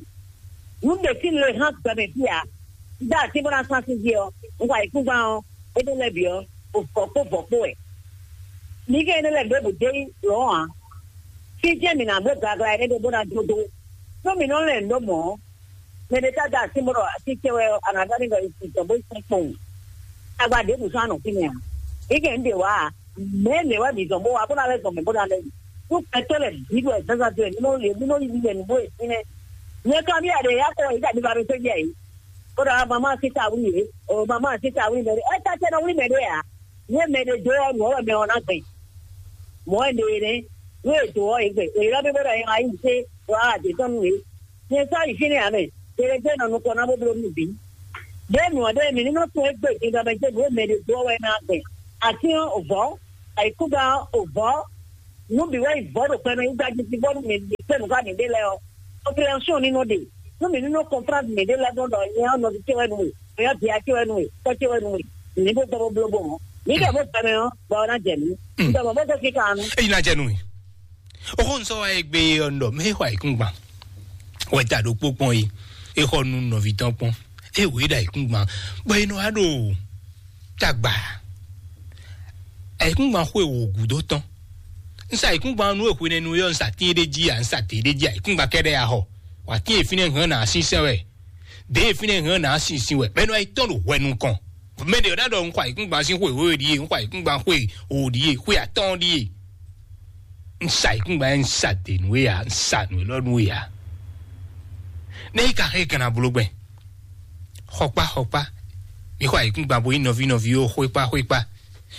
Nǔ ɖě sín le hán gbɛ mɛ fí ǎ. Dó atín bó ná sán sín jí ɔ́, un xɔ ayǐkúngban ɔ́, é ɖó lɛ́ bǐ ɔ́, o vɔ̌ kpó vɔ̌ kpó wɛ. Mi kɛ énɛ́ lɛ́ɛ ɖěbǔ dó yi lɔ̌n ǎ. Fí jɛ́n mǐ ná bló gaglá énɛ́ ɖé bó ná dó dó. Nú mǐ nɔ lɛn nǔ ɖó mɔ̌ ɔ́, mɛ ɖé tá da así bó ɖɔ así ce wɛ ɔ́, a nǎ ɖɔ n'i ɖɔ è sin tɔn bó yi sɛn kpɔ́n wǔ. Tagba ɖěbǔ sɔ́ a nɔ fínɛ́ ǎ. É kɛ ń ɖe wǎ ǎ. Mɛ̌ mɛ wɛ mǐ zɔn bó wá bó ná lɛ́ zɔn mɛ bó ná lɛ́ yi. Nú gbɛtɔ́ lɛ́ɛ bǐ ɖo zǎnzǎn dó e mí nɔ yě mí nɔ yí yɛ nǔ bó e fínɛ́. Nyɛ kan bí a ɖe ya kɔ yǐ ɖa mi ba mi sɛ́ jɛ yìí. Bó ɖɔ mamá sísá wí yě. O mamá sísá wí mɛ ɖé. É tá tɛ́ nɔ wlí mɛ ɖé ǎ. Nú mɛ ɖé dó ɔ́, nǔ ɔ́ wɛ mɛ ɔ́ ná gbɛn. Mɔ̌ wɛ ɖe é nɛ́. Nú è dǒ ɔ́, è gbɛn. È ylɔ́ mì bó ɖɔ è ma yí zé ɖo aɖě tɔn nú yě. Nyɛ sɔ́ yi fínɛ́ ǎ mɛ. Tlɛjɛ́ nɔ nukɔn ná bó bló nú bǐ. Ɖěe nǔ ɔ́ ɖe mǐ ní nɔ tunwun égbé din ɖɔ mɛ ce nǔ e mɛ ɖě dó ɔ́ wɛ ná gbɛn. Atín ɔ́, o vɔ̌, ayǐkúngban ɔ́, o vɔ̌, Nú bǐ wɛ yi vɔ̌ ɖo gbɛmɛ yígbá jí fí bónú mǐ ɖi kpé nǔ xá mǐɖée lɛ́ɛ ɔ́, population ní nɔ ɖe. Nú mǐ ní nɔ comprendre mǐɖée lɛ́ɛ ɖɔ ɖɔ nyɛ ɔ́ nɔví ce wɛ nú we, nyɛ ɔ́ vǐ ce wɛ nú we, tɔ́ ce wɛ nú we, mǐ ní ɖo dɔ́ bó bló bó mɔ̌. Mǐ ɖɔ bó gbɛmɛ ɔ́, bɔ ɔ́ ná jɛ mǐ. Un ɖɔ mɔ̌ bó zé kíka nu. Eyi ná jɛ nú mi. Oxó un sɔ́ wá e gbé ɔ́ un ɖɔ mɛ e xɔ ayǐkúngban wɛ ta ɖokpó kpɔn yi. E xɔ nú nɔví tɔn kpɔn. E wě ɖo ayǐkúngban bɔ e nɔ wá ɖo tagba. Ayǐkúngban xwe wò gǔdo tɔn. Un sa ayǐkúngban nú e hwenɛ́nu é ɔ́, un sa tín é ɖé jí a, un sa tě ɖé jí a, ayǐkúngban kɛ́ɖɛ́ a xɔ. Wǎ tín e fínɛ́ hɛn ná sínsɛ́n wɛ. Dě e fínɛ́ hɛn ná sínsɛ́n wɛ. Bɛ́ nɔ yi tɔ́n ɖo hwɛ nukɔn. Mɛ ɖě ɔ́ ná ɖɔ un xɔ ayǐkúngban sín xwe wěwe ɖíe, un xɔ ayǐkúngban xwe wǒ ɖíe, xwe atɔ́ɔ́n ɖíe. Un sa ayǐkúngban, un sa dě nú we ǎ, un sa nǔ élɔ́ nú we ǎ. Nɛ́ yi ka xɛ gǎn abló gbɛn? Xɔkpá, xɔkpá, mi xɔ ayǐkúngban bo nyí nɔví nɔví ó, xwékpá, xwékpá.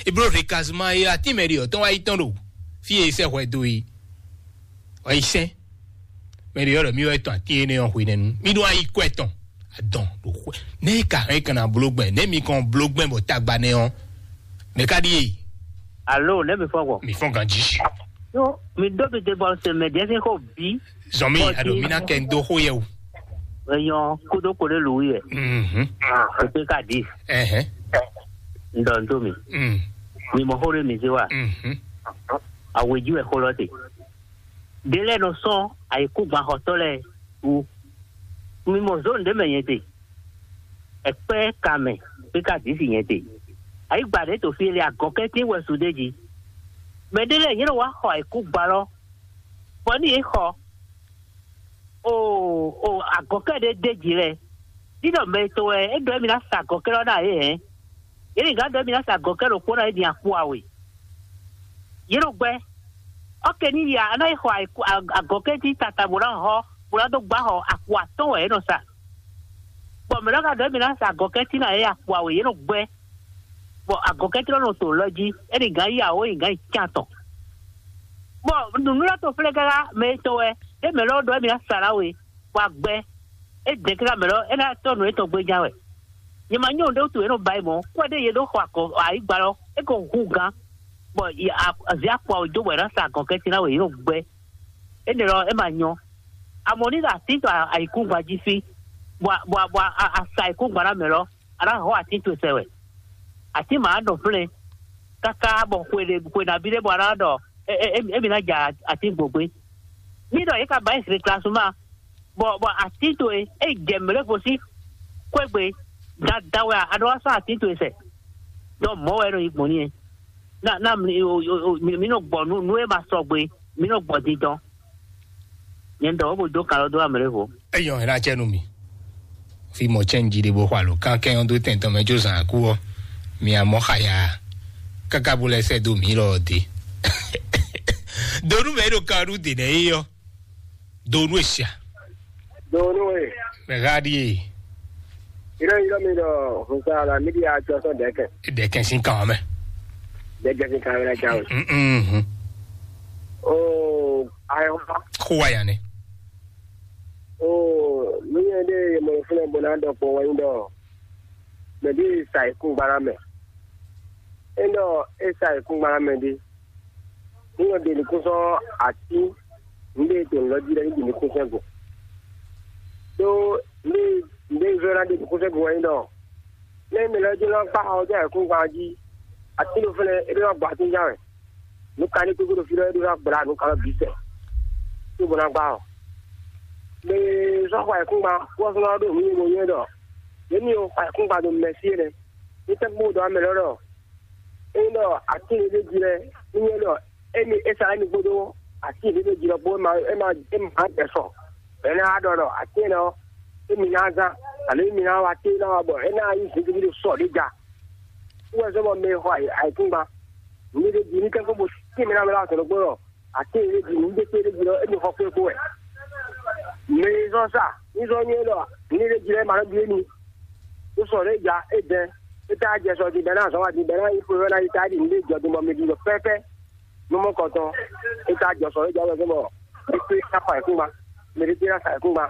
Eblo hekazuma e atín mɛ ɖe ɔ́ tɔn wá yi tɔn ɖo fí e sɛ́ hwɛ dó yi. Wá yi sɛn. Mɛ ɖe ɔ́ ɖɔ mí wɛ tɔn atín énɛ́ ɔ́ hwenɛ́nu. Mí ɖó ayi kɔ ɛtɔn. Adɔn ɖo xwɛ. Nɛ́ yi ka hɛn kan ná bló gbɛn? Nɛ́ mi kɔn bló gbɛn bɔ tagba nɛ́ ɔ́? Mɛ ka ɖíe? Alo, nɛ́ mi fɔ́n gbɔn? Mi fɔ́n ganjí. Yo, mi ɖó mi te bɔ se mɛ ɖɛ́ sín xó bí. Zɔn mi, ado mi ná kɛ n dó xó yɛ o. Eyɔn kódó kódó lǔ yɛ. Mhm. Ètò ka di. Ɛhɛn. Ŋdɔ ŋdó mi. Mm. Mi mɔ xó ɖé mi zé wa. Mhm. Àwějí wɛ xó lɔ te. Ɖé lɛ́ɛ nɔ sɔ́n ayǐkúngban xɔtɔ́ lɛ́ɛ wú. Mi mɔ zǒn ɖé mɛ nyɛ te. Ɛkpɛ́ ka mɛ pé ka dǐ si nyɛ te. Ayǐgba ɖě to fí e lɛ agɔ̌kɛ́tín wɛ su ɖé jí. Mɛ ɖé lɛ́ɛ nyɛ nɔ wá xɔ ayǐkúngban lɔ, bɔ ní yě xɔ o o agɔ̌kɛ́ ɖé d'é jí lɛ́ɛ. Ní ɖɔ mɛ tɔn wɛ é ɖɔ émí ná sa agɔ̌kɛ́ lɔ ná yě hɛn. Yě ní gǎn ɖɔ émí ná sa agɔ̌kɛ́ ɖokpó ná é din akpo awe. Yě ɖo gbɛ́. Ɔ́ ke ní ya, a ná yi xɔ agɔ̌kɛ́ jí tata bó ná hɔ́, bó ná dó gbá xɔ akpo atɔ́ɔ́n wɛ é nɔ sa. Bɔ mɛ̌ nɔ ka ɖɔ émí ná sa agɔ̌kɛ́ cí ná yě akpo awe yě nɔ gbɛ́. Bɔ agɔ̌kɛ́ cí nɔ to lɔ jí, é ní gǎn yi awǒ yi gǎn yi can tɔn. Bɔ nǔnúɖatɔ́ flɛ́ káká mɛ e tɔn wɛ, é mɛ̌ lɔ ɖɔ émí ná sa ná we, bɔ a gbɛ́. É dɛ̌ káká mɛ̌ lɔ é ná tɔ́ nǔ étɔn gbéjá wɛ. Nyɛ ma nyɔ́ nǔɖé wútu é nɔ ba yi mɔ̌, kú ɛɖé yě ɖó xɔ akɔ ayǐgba lɔ, é ko hu gǎn, bɔ azǐ akpo awe dó bɔ è nǎ sa agɔ̌kɛ́ cí ná we yě nɔ gbɛ́. Énɛ́ lɔ é ma nyɔ́. Amɔ̌ ní ɖo atín tɔn ayǐkúngban jí fí, bɔ a- bɔ a- bɔ a- a- a sa ayǐkúngban ná mɛ lɔ, a ná hɔ́ atín towe sɛ wɛ. Atín ma nɔ flɛ́n káká bɔ xwe ɖé xwe nabí ɖé bɔ a ná ɖɔ é- é- é- émí ná ja atín gbǒgbé. Ní ɖɔ yě ka ba yi réclassement, bɔ bɔ atín towe é jɛ mɛ̌ lɛ́ɛ gosín xwé gbe, dandan wɛ a ɖo wá sɔ́ atín towe sɛ. Dɔn mɔ̌ wɛ é nɔ yi gbɔn n'i é. Na na mi o- o- o- mi mi nɔ gbɔ nú nú e ma sɔgbe, mi nɔ gbɔ dindɔn. Nyɛ ɖɔ wo bo dó kan lɔ dó amɛ lɛ́ɛ vo. Eyɔn hɛn acɛ nú mi. Fi mɔ cɛn jí ɖe bó xɔ alo kan kɛ yɔn dó tɛn tɔn mɛ jó zan akú ɔ. Mi amɔ xaya. Kaka bó lɛ sɛ dó mi lɔ de. Donu mɛ ɖo kan ɖu de nɛ yi yɔ. Donu esia. Donu e. Mɛ ha ɖi ye. Iro iro mi ɖɔ hunsa la mi ɖi atsɔ sɔ dɛkɛ. Dɛkɛ sin kan mɛ. Dɛkɛ sin kan mɛ na jawe. Mm. O ayɔba. Ko wa ya ne. O mi yɛ de mɔ fúnɛ bɔ na dɔ kpɔ wɛnyi dɔ. Mɛ bi sa ikungba na mɛ. E dɔ e sa ikungba na mɛ di. Ní yɔ ɖe nukúnsɔ́ atí nǔɖé to nǔ lɔ jí lɛ́ɛ ní ɖi nukúnsɔ́ go. Ɖó ní nǔɖé zɔ́ ná ɖi nukúnsɔ́ go wɛ nyí ɖɔ, nɛ́ mɛ lɛ́ɛ jló ná kpá xɔ ɔ́ dó ayǐkúngban jí, atí ɖo fɛ́nɛ é ɖó ná gbɔ atínján wɛ. Nǔ ka ní kúkú ɖo fí lɔ é ɖó ná gbla nǔ ka lɔ bǐ sɛ, cóbó ná gbá ɔ. Mɛ e sɔ́ xɔ ayǐkúngban kú ɔ́ sɔ́ ná ɖó nǔ nyi mo nyɔ́ ɖɔ, yě ní xɔ ayǐkúngban ɖo mɛ̌si é nɛ́. Ní tɛ́ kpó dɔ̌ amɛ lɔ ɖɔ, ényí ɖɔ atín ɖé jí lɛ́ɛ, ní nyɛ ɖɔ émi é sa émi kpódó atín ɖé jí lɔ kpó é ma é ma é ma jɛ sɔ. Bɛ̌ ná ɖɔ ɖɔ atín énɛ́ ɔ́, émi ná zán, alo émi ná wá atín ná wá bɔ é ná nyí zǐngídi ɖo sɔ ɖé ja. Wú wɛ zɔ́n bɔ mɛ e xɔ ayǐkúngban, nǔ ɖé jí ní kɛ́kɔ́ bó tín mɛ ná mɛ lɔ azɔ̌ ɖokpó ɖɔ atín ɖé jí nǔ ɖé kpé ɖé jí lɔ émi xɔ kpé kpó wɛ. Mɛ e zɔ́n sa ní zɔ́n nyɛ ɖɔ nǔ ɖé jí lɛ́ɛ ma nɔ ɖu émi. Ní sɔ ɖé ja é dɛn, é tá jɛ sɔ din bɛ́ ná zɔn wá din bɛ́ ná yi xwe wɛ ná yi tá ɖi nǔ ɖé jɔ din bɔ mi ɖi ɖɔ pɛ́pɛ́. Nú mɔ kɔntɔn, é tá jɔ sɔ ɖé ja wɛ gbɔn bɔ é kpé ná fa ayǐkúngban, mɛ ɖé kpé ná sa ayǐkúngban.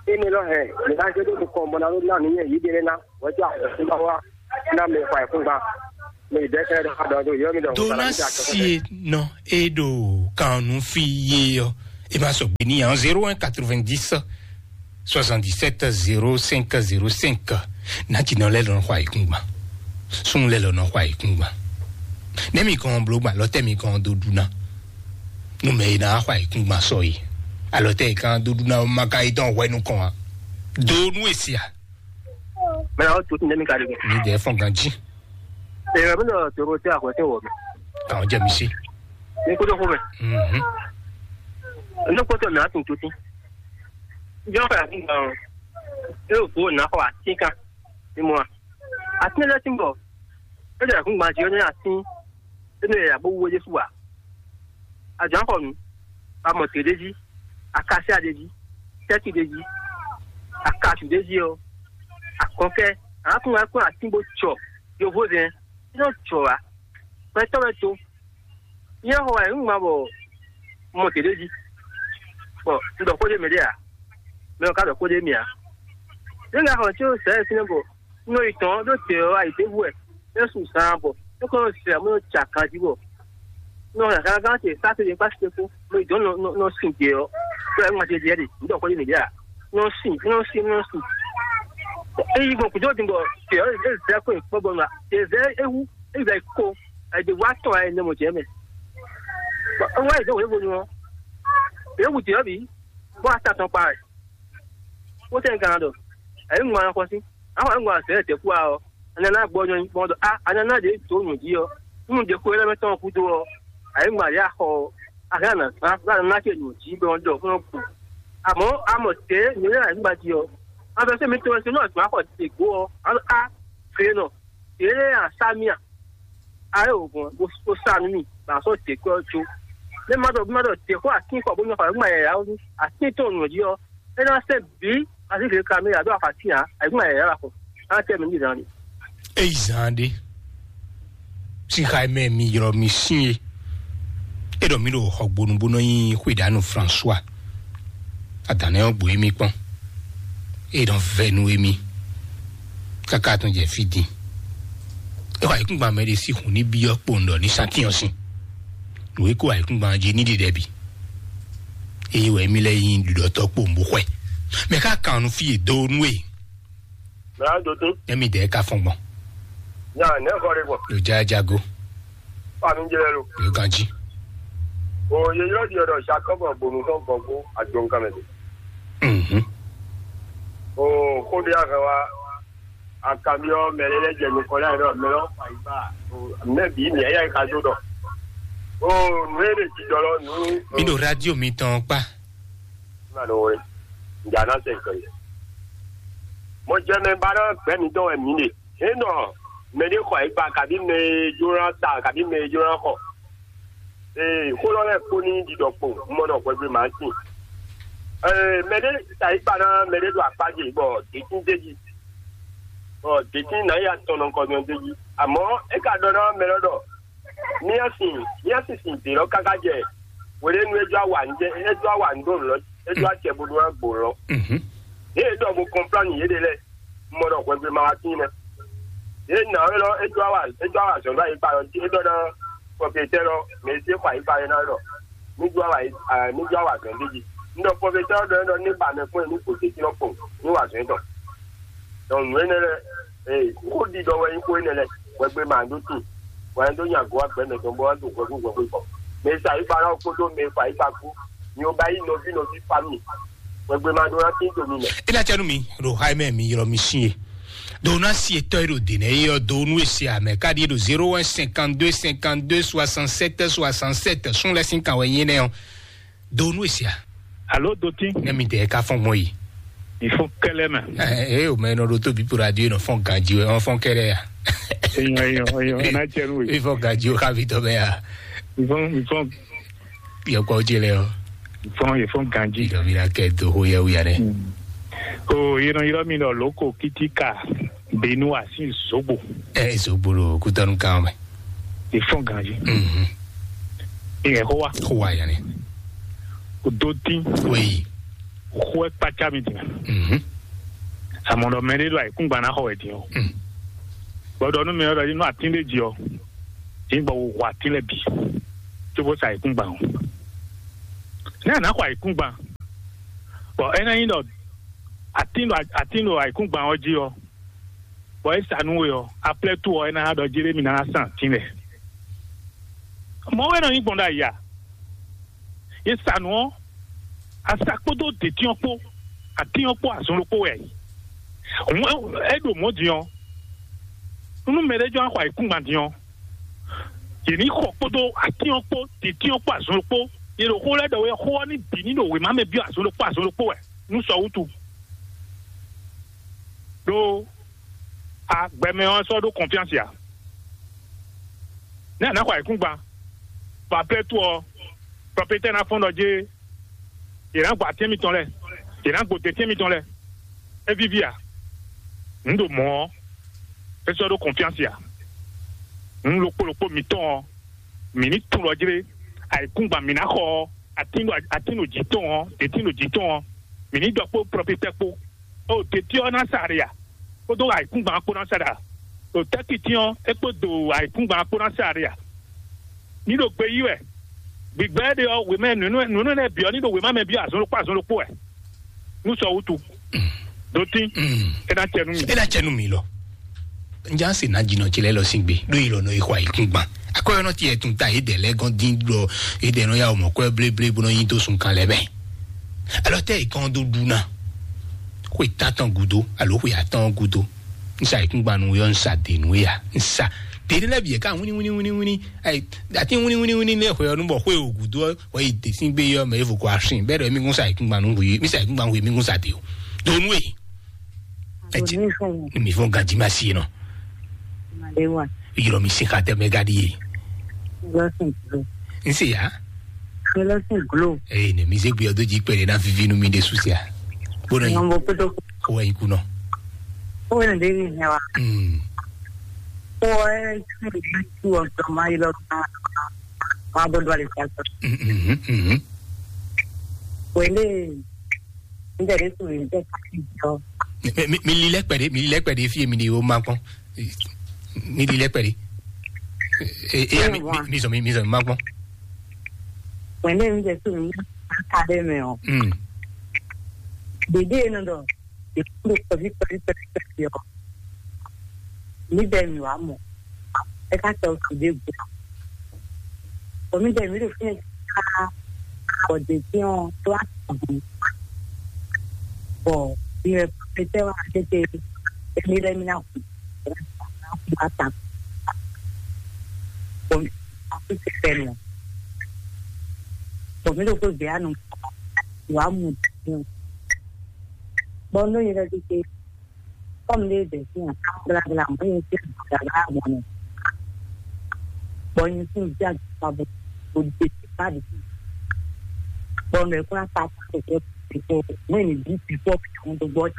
Énɛ́ lɔ hɛn mɛ ná zé ɖó nukɔn bɔ ná ɖó ná nǔ nyɛ yě ɖe lɛ́ɛ ná, hwɛ̌ tó ahɔ̌súnɔ wá ná mɛ fa ayǐkúngban. Mi dɛsɛ ɖɔ ɖɔ ɖo yɔ mi ɖɔ. Dona sie nɔ e ɖo kan nu fi ye ɔ, e ma sɔgbe ni yan zéro un quatre-vingt-dix soixante-dix-sept zéro cinq zéro cinq. Nati nɔ lɛ lɔ nɔ xɔ ayikun gban, sun lɛ lɔ nɔ xɔ ayikun gban. Ne mi kɔn blo gban lɔ tɛ mi kɔn do ɖu na. Nu mɛ e na xɔ ayikun gban sɔ yi, alɔ tɛ e kan do ɖu na ma ka yi dɔn hwɛ nukɔn a. Do nu e sia. Mɛ na o tu ne mi ka de. Mi dɛ fɔn ganji. Ɛ bɛ nɔ toro tɛ akɔ tɛ wɔ mi. Ka o jɛ mi si. Ni ko do ko mɛ. Mhm. Ne ko to na tun tuti. Jɔ ka ni gan. E o ko na ko a tin kan. Ni mo a. A tin le tin bɔ. E de kun gban ji ne a tin. E ne ya bo wo Jesu a. A jan ko nu. A mo te de ji. A ka se a de ji. Tɛti de ji. A ka su de ji o. A kɔn kɛ. A kun a kun a tin bo tsɔ. Yo vo zɛn. Nɔ jɔ wá. Gbɛtɔ́ wɛ tó. Nyɛ xɔ wɛ un ŋma bɔ mɔ gěɖé jí. Bɔ un ɖɔ xó ɖé mɛ ɖé ǎ. Mɛ ɔ́ ka ɖɔ xó ɖé mì ǎ. Ní un ka xɔ tí ó sɛ ɛ fínɛ́ bɔ un nɔ yi tɔn ɖó dě ɔ́ ayǐtévu wɛ é su zaan bɔ é kɔn nɔ zɛ mɔ nɔ ja ganjí bɔ un nɔ hɛn gangan ce sásé ɖé kpásí kpó mɔ yi dɔn nɔ nɔ sin dě ɔ́. Tó ɛ ŋma ce diɛ ɖe un ɖɔ xó ɖé mì ɖé ǎ. Nɔ sin nɔ sin nɔ sin. Eyi gbɔn kúndó din bɔ tě ɔ́ é zɛ kó yi kpɔ́ bɔ nɔ tě zɛ ewu. Eyi zɛ ko. Ɛdi wa tɔ ɛ ne mo jɛ mɛ. Bɔ ewa yi dɔn wěvo nu ɔ. Ewu tě ɔ́ bǐ. Bɔ ata tɔn kpa ɛ. Wó tɛ gan dɔ. Ɛyi ŋun an xɔ sí. An xɔ ɛyi ŋun an sɛ tɛ kú a ɔ. Anana gbɔ nyɔ gbɔn dɔ a anana de to nù jí ɔ. Nínú de ko yɛ mɛ tɔn kú do ɔ. Ɛyi ŋun a yà xɔ ɔ. A hɛn na zan bá nana ke nù jí bɛ ɔn dɔ fún ɔ kú. Àmọ́ a mọ̀ tě nyɛ yà nígbà jí ɔ. An fẹ́ sẹ́mi tó ẹ sínú ọ̀tún akọ̀ tè gbó ɔ. A a fèé nɔ. Tě lé a sá mí a. Ayé ògùn bó sá nú mì bá sɔ tè kú ɔ tso. Ní ma dɔ bí ma dɔ tè kó àtín kɔ bó nyɔ kɔ ɛ gbọ́n yà yà ó ní. Àtín tó nù jí ɔ. É ná sɛ bí así kìí ka mì yà dó àfàtì yà. Ɛ gbọ́n yà yà kɔ. Á tẹ́ mi ní ìdáni. Eyi zan ɖe. Sixa mɛ mi ylɔ mi sin ye. E ɖɔ mi ɖo xɔgbonu bó nɔ nyi xwedanu François. Adǎnɛ ɔ́ gbo émí kpɔ́n. E ɖɔ vɛ nú émí. Káká tɔn jɛ fí din. E xɔ ayikúngban mɛ ɖe sí hun ní byɔ́ kpowun ɖɔ ní sátiyɔn sin. Nǔ e kó ayikúngban jí ní ɖiɖɛ bǐ. Eye wɛ émí lɛ́ nyí ɖuɖɔtɔ́ kpowun bó xwɛ. Mɛ ká kan nu fí e dó nú e. Mɛ á dó tín. Émí dɛ ka fɔn gbɔn. Nya nɛ xɔ ɖe gbɔn. Lo ja jago. Fami jɛ lo. Lo ganji. O ye yɔ di ɔdɔ Jacob bonu tɔn gbɔgbó agbɔnkan mɛ de. Mhm. O ko de a hɛ wa akamiɔ mɛ lɛ lɛ jɛ nukɔ lɛ yɛrɛ mɛ lɔ fa yi ba. O mɛ bi mi ya ka do dɔ. O nu e de ti dɔ lɔ nu. Mi ɖo radio mi tɔn kpa. Ma ɖo we. Ŋdza na sɛ ŋkɔ yi. Mɔ jɛ mɛ ba ɖɔ gbɛ mi dɔ wɛ mi ɖe. Enɔ mɛ ɖe xɔ yi gba kabi mɛ e jlo na ta kabi mɛ e jlo na xɔ. Ee, xó lɔ lɛ kpó ní ɖiɖɔ kpo, un mɔ ɖɔ hwɛgbe mǎ sin. Ee, mɛ ɖé ta yi kpa ná mɛ ɖé ɖo akpá ce, bɔ dětín d'é jí. Bɔ dětín ná yi atɔn nɔ kɔ nyɔ d'é jí. Àmọ́ é ka ɖɔ ná mɛ lɔ ɖɔ, mía sin, mía sin sin dě lɔ káká jɛ. Wěɖé nu é jɔ awǎ ń jɛ, é jɔ awǎ ń ɖo lɔ, é jɔ acɛ bo ɖó ná gbo lɔ. Mhm. Yě ɖɔ bo kɔnpláni yě ɖe lɛ. Mɔ ɖɔ hwɛgbe ma wá tín nɛ. Yě nǎ é lɔ é dó awa é dó awa zɔ̌n ɖó ayikpa lɔ jí é ɖɔ ná pɔpɛtɛ lɔ mɛ e sí xɔ ayikpa é ná ɖɔ ní dó awa ní dó awa zɔ̌n ɖé jí. Un ɖɔ pɔpɛtɛ lɔ ɖɔ é ɖɔ ní ba mɛ kpɔ́n ní gbo tɛ́ntin lɔ kpɔn ní wa zɔ̌n tɔn. Donc nǔ énɛ́ lɛ́ɛ ee xó ɖiɖɔ wɛ nyí xó énɛ́ lɛ́ɛ hwɛgbe ma ɖó tín. Wɛ dó nya gɔ́ agbɛ̌ mɛ tɔn bó wá dó hwɛgbe hwɛgbe kɔ. Mɛ e sa ayikpa lɔ kpódó mɛ e xɔ ayikpa kpó. Mi ò bá yí nɔví nɔví fa mi. Hwɛgbe ma ɖó ná tín to mi mɛ. E na cɛ nu mi ɖo xayi mɛ mi ylɔ mi sin ye. Do na si etɔ yi ɖo de nɛ ye ɔ do nu esi amɛ ka ɖi ɖo zéro un cinquante deux cinquante deux soixante sept soixante sept sun lɛ sin kan wɛ nyi nɛ ɔ. Do nu esi a. Alo do tin. Ne mi tɛ ka fɔn gbɔn yi. Il faut kɛlɛ mɛ. Ee o mɛ nɔ ɖo tóbi po radio nɔ fɔn ganji wɛ ɔn fɔn kɛlɛ ya. Eyɔn eyɔn eyɔn ɛ na cɛ nu ye. Ifɔ ganji o ka vi tɔ bɛ ya. Il faut il faut Yɔkpɔ ce lɛ ɔ. Fɔn ye fɔn ganji. Idɔ mi na kɛ do ho yɛ wuya dɛ. O yinɔ yinɔ mi nɔ loko kitika benu asi zogbo. Ɛ zogbo lo kutɔnu kan mɛ. Ye fɔn ganji. Mhm. Ye ho wa. Ho wa yanni. O do tin. Oui. Ho ɛ kpatsa mi din. Mhm. Amɔdɔ mɛ de do ayikungba na xɔ wɛ din o. Mm. Bɔ ɖɔ nú mi ɔ́ ɖɔ nú atín ɖé jí ɔ́, yǐ gbɔ wò atín lɛ́ɛ bǐ, cóbó sa ayǐkúngban ɔ́. Nɛ́ a nǎ xɔ ayǐkúngban? Bɔ é ná nyí ɖɔ atín ɖo atín ɖo ayǐkúngban ɔ́ jí ɔ́, bɔ é sa nú we ɔ́, aplɛ́ tó ɔ́, é ná ɖɔ jí ɖé mi ná san atín lɛ́ɛ. Mɔ̌ wɛ nɔ nyí gbɔn ɖo ayǐ a? Yě sa nǔ ɔ́, asa kpódó dětín ɔ́ kpó, atín ɔ́ kpó azɔn ɖokpó wɛ. Hǔn é ɖo mɔ̌ din ɔ́, nú mɛ ɖé jɔ xɔ ayǐkúngban din ɔ́, yě ní xɔ kpódó atín ɔ́ kpó, dǐtín ɔ́ kpó azɔn ɖokpó. Yě ɖo xó lɛ́ɛ ɖɔ wɛ, xó ɔ́ ní bǐ ní ɖo wěma mɛ byɔ́ azɔn ɖokpó azɔn ɖokpó wɛ nú sɔ wútu. Ɖó a gbɛmɛ ɔ́ sɔ́ ɖó kɔnfyánsi ǎ. Nɛ́ a nǎ xɔ ayǐkúngban, bɔ aplɛ́ tó ɔ́, prɔpétɛ́ ná fɔ́n ɖɔ jé, yě ná gbɔ atín mitɔn lɛ́ɛ, yě ná gbo dětín mitɔn lɛ́ɛ. É víví a? Nǔ ɖo mɔ̌ ɔ́, é sɔ́ ɖó kɔnfyánsi ǎ. Nǔ ɖokpó ɖokpó mitɔn ɔ́, mǐ ní tunwun ɖɔ jlé, ayǐkúngban mǐ ná xɔ ɔ́, atín ɖo atín ɖo jǐ tɔn ɔ́, dětín ɖo jǐ tɔn ɔ́, mǐ ní ɖɔ kpó prɔfitɛ kpó. O teti ɔ́ ná sa ɖe a? Kpódó ayǐkúngban kpó ná sa ɖe a? O tɛ́kiti ɔ́, é kpó do ayǐkúngban kpó ná sa ɖe a? Ní ɖo gbe yí wɛ. Gbigbɛ ɖe ɔ́, wěmɛ nǔnú nǔnú nɛ́ bǐ ɔ́ ní ɖo wěma mɛ byɔ́ azɔn ɖokpó azɔn ɖokpó wɛ. Nú sɔ wútu. Ɖó tín. É ná cɛ nú mi. É ná cɛ nú mi lɔ. Njá se ná jinɔ ce lɛ́ɛ lɔ sín gbe ɖó yi lɔ nɔ yi xɔ ayǐkúngban. Akɔyɔnɔ ce yɛ tun ta yě dɛ lɛ́ɛ gɔ́n dín ɖɔ yě dɛ nɔ ya wɔ mɔ̌ kwɛ́ bléblé bó nɔ nyi dó sun kan lɛ́ɛ mɛ. Alɔ tɛ́ yě kɔn dó ɖu ná. Xwe tántɔn gúdo alo xwe atɔn gúdo. N sa ayǐkúngban nú yɔ, n sa dě nú ya. N sa dě lɛ́ɛ bǐ yɛ ká wíní wíní wíní wíní. Ayi, atín wíní wíní wíní lɛ́ɛ xwe ɔ́ nú bɔ xwe o gúdo ɔ́ wɔ yi dě sín gbé yɔ mɛ evo kɔ asin bɛ́ ɖɔ émí gún sa ayǐkúngban nú xwe, mí sa ayǐkúngban nú xwe, mí gún sa dě o. Donu e. Ɛ ti mi fún mi fún ganji ma si nɔ. Malewa. Yɔrɔ mi se ka tɛ mɛ gadi ye. Lɔsìn glo. N se ya. Lɔsìn glo. Ee ne mi se gbé ɔdó jí pɛlɛ na vivi nu mi de susia. Bónɔ yi. Nɔmbo kudo. Ko wa yi kunɔ. Ko wɛ ne de yi nya wa. Hmm. Ko wɛ ti tu ɔdɔ ma yi lɔ ma. Ma bɔ do ale sa. Mhm mhm. Wele. N tɛ de tu n tɛ ka ti jɔ. Mi mi mi lilɛ kpɛɖe mi lilɛ kpɛɖe fi mi ni o ma kpɔn. Mi ɖi lɛ́kpɛ ɖi. E e mi mi mi zɔn mi mi zɔn mi ma gbɔn. Wɛnde mi jɛ tu mi ka ɖe mɛ o. Hmm. Dede nɔ dɔ. Ekúndé kɔvi kɔvi kɔvi kɔvi ɔ. Mi bɛ mi wa mɔ. Ɛ ka tɔ tu de gbɔ. Kɔmi bɛ mi ɖo fún ɛ ká. Bɔ dede ɔ to a tɔ. Bɔ mi wɛ pɛtɛ wa tete. Emi lɛ mi na hu. Ata. Bon, aku se fɛn o. Bon, mi ɖo ko gbé anu. Wa mu. Bon, no yɛrɛ di ke. Comme les des gens, blablabla, moi je suis blablabla. Bon, je suis déjà pas bon. Bon, je sais pas de qui. Bon, mais quoi, ça, c'est que, c'est que, moi, je dis, c'est quoi, puis on te voit.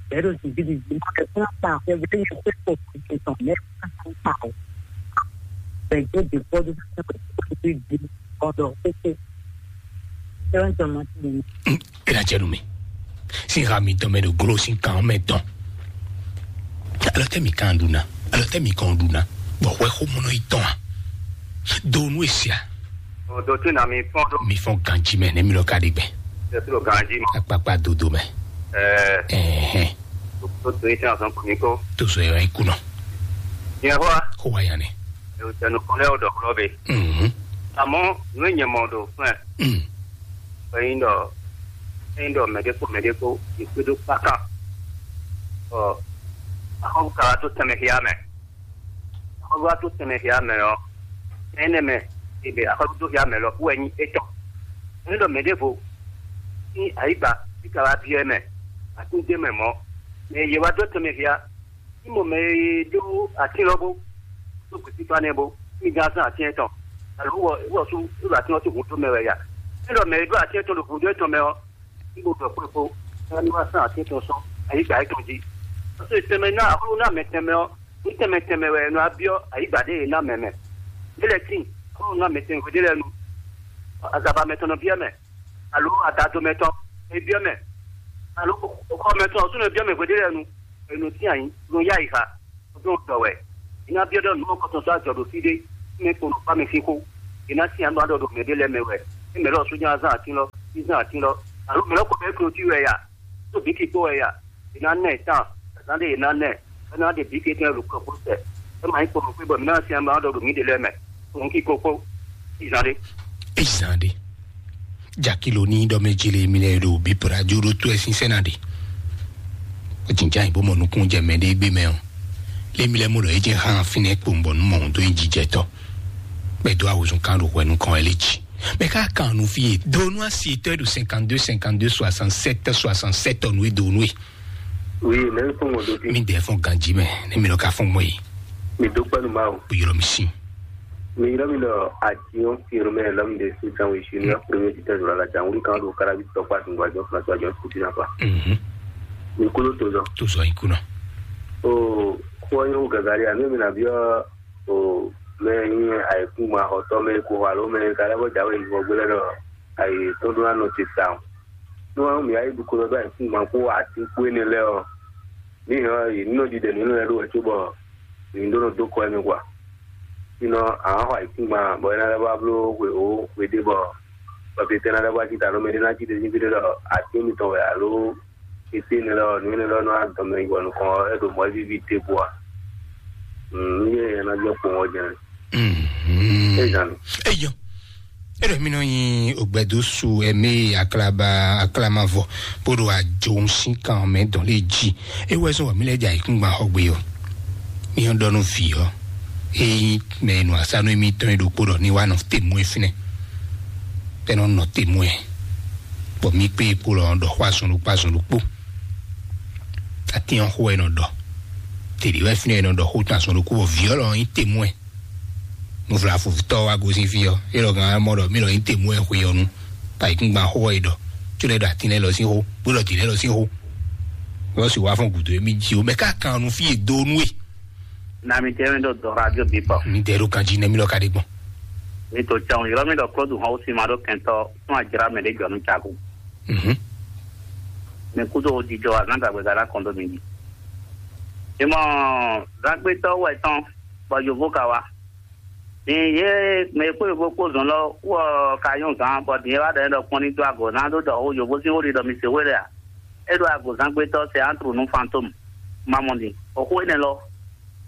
Bɛɛ ɖo zǐngídi jí. Ɛ fún akpa xwé bó yẹ kó kó kó tɔn mɛ kó kó kó. Bɛɛ ɖo de kó ɖo kó kó kó di kó ɖɔ kó kó. Sɛwɛn tɔn ma ti mi. Ela cɛ nu mi. Sin ha mi tɔn mɛ ɖo glo sin kan mɛ tɔn. Alɔ tɛ mi kan ɖu na. Alɔ tɛ mi kan ɖu na. Bɔ xwɛ xó mɔnɔ yi tɔn a. Do nu esia. Ɔ, dɔ tún na mi fɔn ɖo. Mi fɔn ganji mɛ ne mi lɔ ka ɖi gbɛ. Ɛ kúrò ganji mɔ. Akpakpa dodo mɛ. Ɛɛ. Ɛhɛn. Tó tó yín sẹ́yìn ọ̀sán kò ní kó. Tó sọ yẹn wá ikú nọ. Ìyẹn fọ́ wa. Kó wá yan ni. Èrò tẹnu kan lẹ́wọ̀ dọ̀ kúrọ́ bẹ́ẹ̀. Mhm. Àmọ́ ìwé yẹn mọ̀ ọ̀dọ̀ fún ẹ̀. Mm. Ẹ̀yin dọ̀ ẹ̀yin dọ̀ mɛ̀dẹ́kọ̀ mɛ̀dẹ́kọ̀ ìpédó pákà. Ɔ, àkọ́kọ́ kàrà tó tẹ̀mẹ̀ kíá mẹ́. Xɔlɔ́ tó tɛnmɛ xia mɛ ɔ́, énɛ́ mɛ e ɖe axɔ́lú dó xia mɛ lɔ kú wɛ nyí étɔn. Ní ɖɔ mɛ ɖěvo sín ayǐgba bí ka wá byɔ́ ɛ mɛ, atín d'é mɛ mɔ̌, mɛ e yě wá dó tɛnmɛ xia, ní mɔ mɛ e ɖó atín lɔ bó, ɖó gǔsífá nɛ́ bó, ní gán zán atín étɔn, alo wɔ wɔ sú ɖo atín ɔ́ sín hǔn dó mɛ wɛ ya. Ní ɖɔ mɛ e ɖó atín étɔn ɖo hǔn dó étɔn mɛ ɔ́, ní bo ɖɔ kpó kpó, ní wá sán atín tɔn sɔ́ ayǐgba yětɔn jí. Ɔ́ tɛnmɛ ná axɔ́lú ná mɛ tɛnmɛ ɔ́, ní tɛnmɛ tɛnmɛ wɛ è nɔ wá byɔ́ ayǐgba ɖě è ná mɛ mɛ. Lě lɛ́ɛ tíin, axɔ́lú ná mɛ tɛnmɛ hweɖé lɛ́ɛ nu. Azaba mɛ tɔn nɔ byɔ́ mɛ, alo adado mɛ tɔn è byɔ́ mɛ, alo xɔ mɛ tɔn ɔ́ sú nɔ byɔ́ mɛ hweɖé lɛ́ɛ nu. È nɔ tín ayǐ, nɔ yá yi xa, ɖó ɖɔ wɛ. È nǎ byɔ́ ɖɔ nǔ mɔkɔtɔn sɔ́ ajɔ ɖo fí ɖé, mɛ kpo nɔ kpá mɛ sín xó. È nǎ tín ayǐ nɔ ɖɔ ɖo mɛ ɖé lɛ́ɛ mɛ wɛ. É mɛ lɔ sójà zán atín lɔ, zán atín lɔ. Alo mɛ lɔ kɔ bɛ klotí wɛ ya, tó bǐ kí kpó wɛ ya. È nǎ nɛ tán, azán ɖé è nǎ nɛ, é ná ɖe bǐ kí tɛn ɖo kɔ kó sɛ. É ma nyí kpo nɔ xwé bɔ mǐ ná tín ayǐ nɔ ɖɔ ɖo mǐ ɖé lɛ́ɛ mɛ. Kún kí kó kpó, zán ɖé. Ezan ɖe. Jakilo ní ɖɔ mɛ jele mi lɛ ɖo bíbra jo ɖo tó ɛ sínsɛ́n na ɖe. Jinjá yi bó mɔ nukún jɛ mɛ ɖé gbé mɛ ɔ. Lé mi lɛ mɔ ɖɔ é jɛ hán fínɛ́ kpowun bɔ nú mɔ òun dó nyi jijɛtɔ. Bɛ dó awozun kan ɖo hwɛ nukɔn ɛ lé jí. Bɛ ká kan nu fí e donu asi tɔ ɖo cinquante-deux cinquante-deux soixante-sept soixante-sept ɔ nu e donu e. Oui, mɛ fún ŋɔ dó tí. Mi dɛ fún ganji mɛ, ne mi lɔ ka fún mɔ yi. Mi dó pɛnu ma o. O yɔrɔ mi si. Mi yɔrɔ mi lɔ action firme l'homme de sous sang ici ne premier titre de la la jangulu kan do karabi tɔkpa tun gwa jɔ fana jɔ kuti na pa. Mhm. Mi kolo to zɔ. To zɔ ikuna. O ko yo gagari a mi na biɔ o mɛ nyi ayikun ma hɔtɔ mɛ ko halo mɛ kala bɔ jawe ni bɔ gbele dɔ ayi to do na no ti sa. No wa mi ayi du ko dɔ ayikun ma ko ati ko ne lɛ o. Ni hɔ yi no di de ni no lɛ do wɛ tso bɔ ni do no do ko mi kwa. Sinɔ, àwọn xɔ ayǐkúngban bɔ é ná lɛ́ wá bló hwe ó hwe ɖé bɔ bɔ tete ná lɛ́ wá cí ta nú mɛ ɖé ná cí ɖe sín fí ɖé ɖɔ atín mitɔn wɛ alo tete énɛ́ lɔ nǔ énɛ́ lɔ nɔ wá dɔn mɛ yi bɔ nukɔn ɔ́ é ɖo mɔ̌ víví ɖěbǔ ǎ. Nǔ yé é ná jɛ kpowun ɔ́ jɛ́n. Mhm. É zan mi. Eyɔ. Eɖo mi nɔ nyi ogbɛdo su ɛmɛ aklaba aklamavɔ bó ɖo ajo sín kan mɛ dɔn lé jí. Ewɛ sɔn wɔ mi lɛ dza ikúngban xɔ gbe ɔ. Mi yɔn dɔ nú vi ɔ. Eyi mɛ nu asanu mi tɔn ɖokpo ɖɔ ni wa nɔ temu e finɛ. Tɛ nɔ nɔ temu e. Bɔ mi kpe kpo lɔ dɔ xɔ azɔn ɖokpo azɔn ɖokpo. Atiyan xɔ ɛ nɔ dɔ. Tèɖi wɛ finɛ nɔ dɔ xɔ tɔn azɔn ɖokpo bɔ vi ɔ lɔ nyi temu e. Nuflafutɔ wa gosín fí ɔ́, é lɔ gán mɔ ɖɔ mí lɔ nyí temú ɛ xwe ɔ́ nu, ta yí kún gban xó ɔ́ yi ɖɔ, có lɛ ɖo atín lɛ́ɛ lɔ sín xó, bó ɖɔ dǐ lɛ́ɛ lɔ sín xó. Lɔ sì wá fɔ́n gǔdo émí jí o, mɛ ká kan nu fí e dó nú e. Na mi tẹ́ mi ɖo dɔn radio bí pɔ. Mi dɛ ɖo kan jí nɛ mí lɔ ka ɖe gbɔn. Mi to cɛn yɔrɔ mi ɖɔ klɔdu hɔn si ma ɖo kɛntɔ fún ajra mɛ ɖe jɔ nu caku. Mhm. Mi kudo o dijɔ a gán dagbe gada kɔn do mi di. Imɔ zagbetɔ wɛ tɔn bɔ yovo ka wa. Din ye mɛ e kpó yovo kpó zɔn lɔ wɔ ka nyɔ zan bɔ din e wa ɖɔ ɖɔ kpɔn ní dó ago ná ɖó ɖɔ o yovo sín wó ɖi ɖɔ mi se wé lɛ a? É ɖo ago zangbe tɔ se antru nú fantôme. Mamɔ din o xó énɛ́ lɔ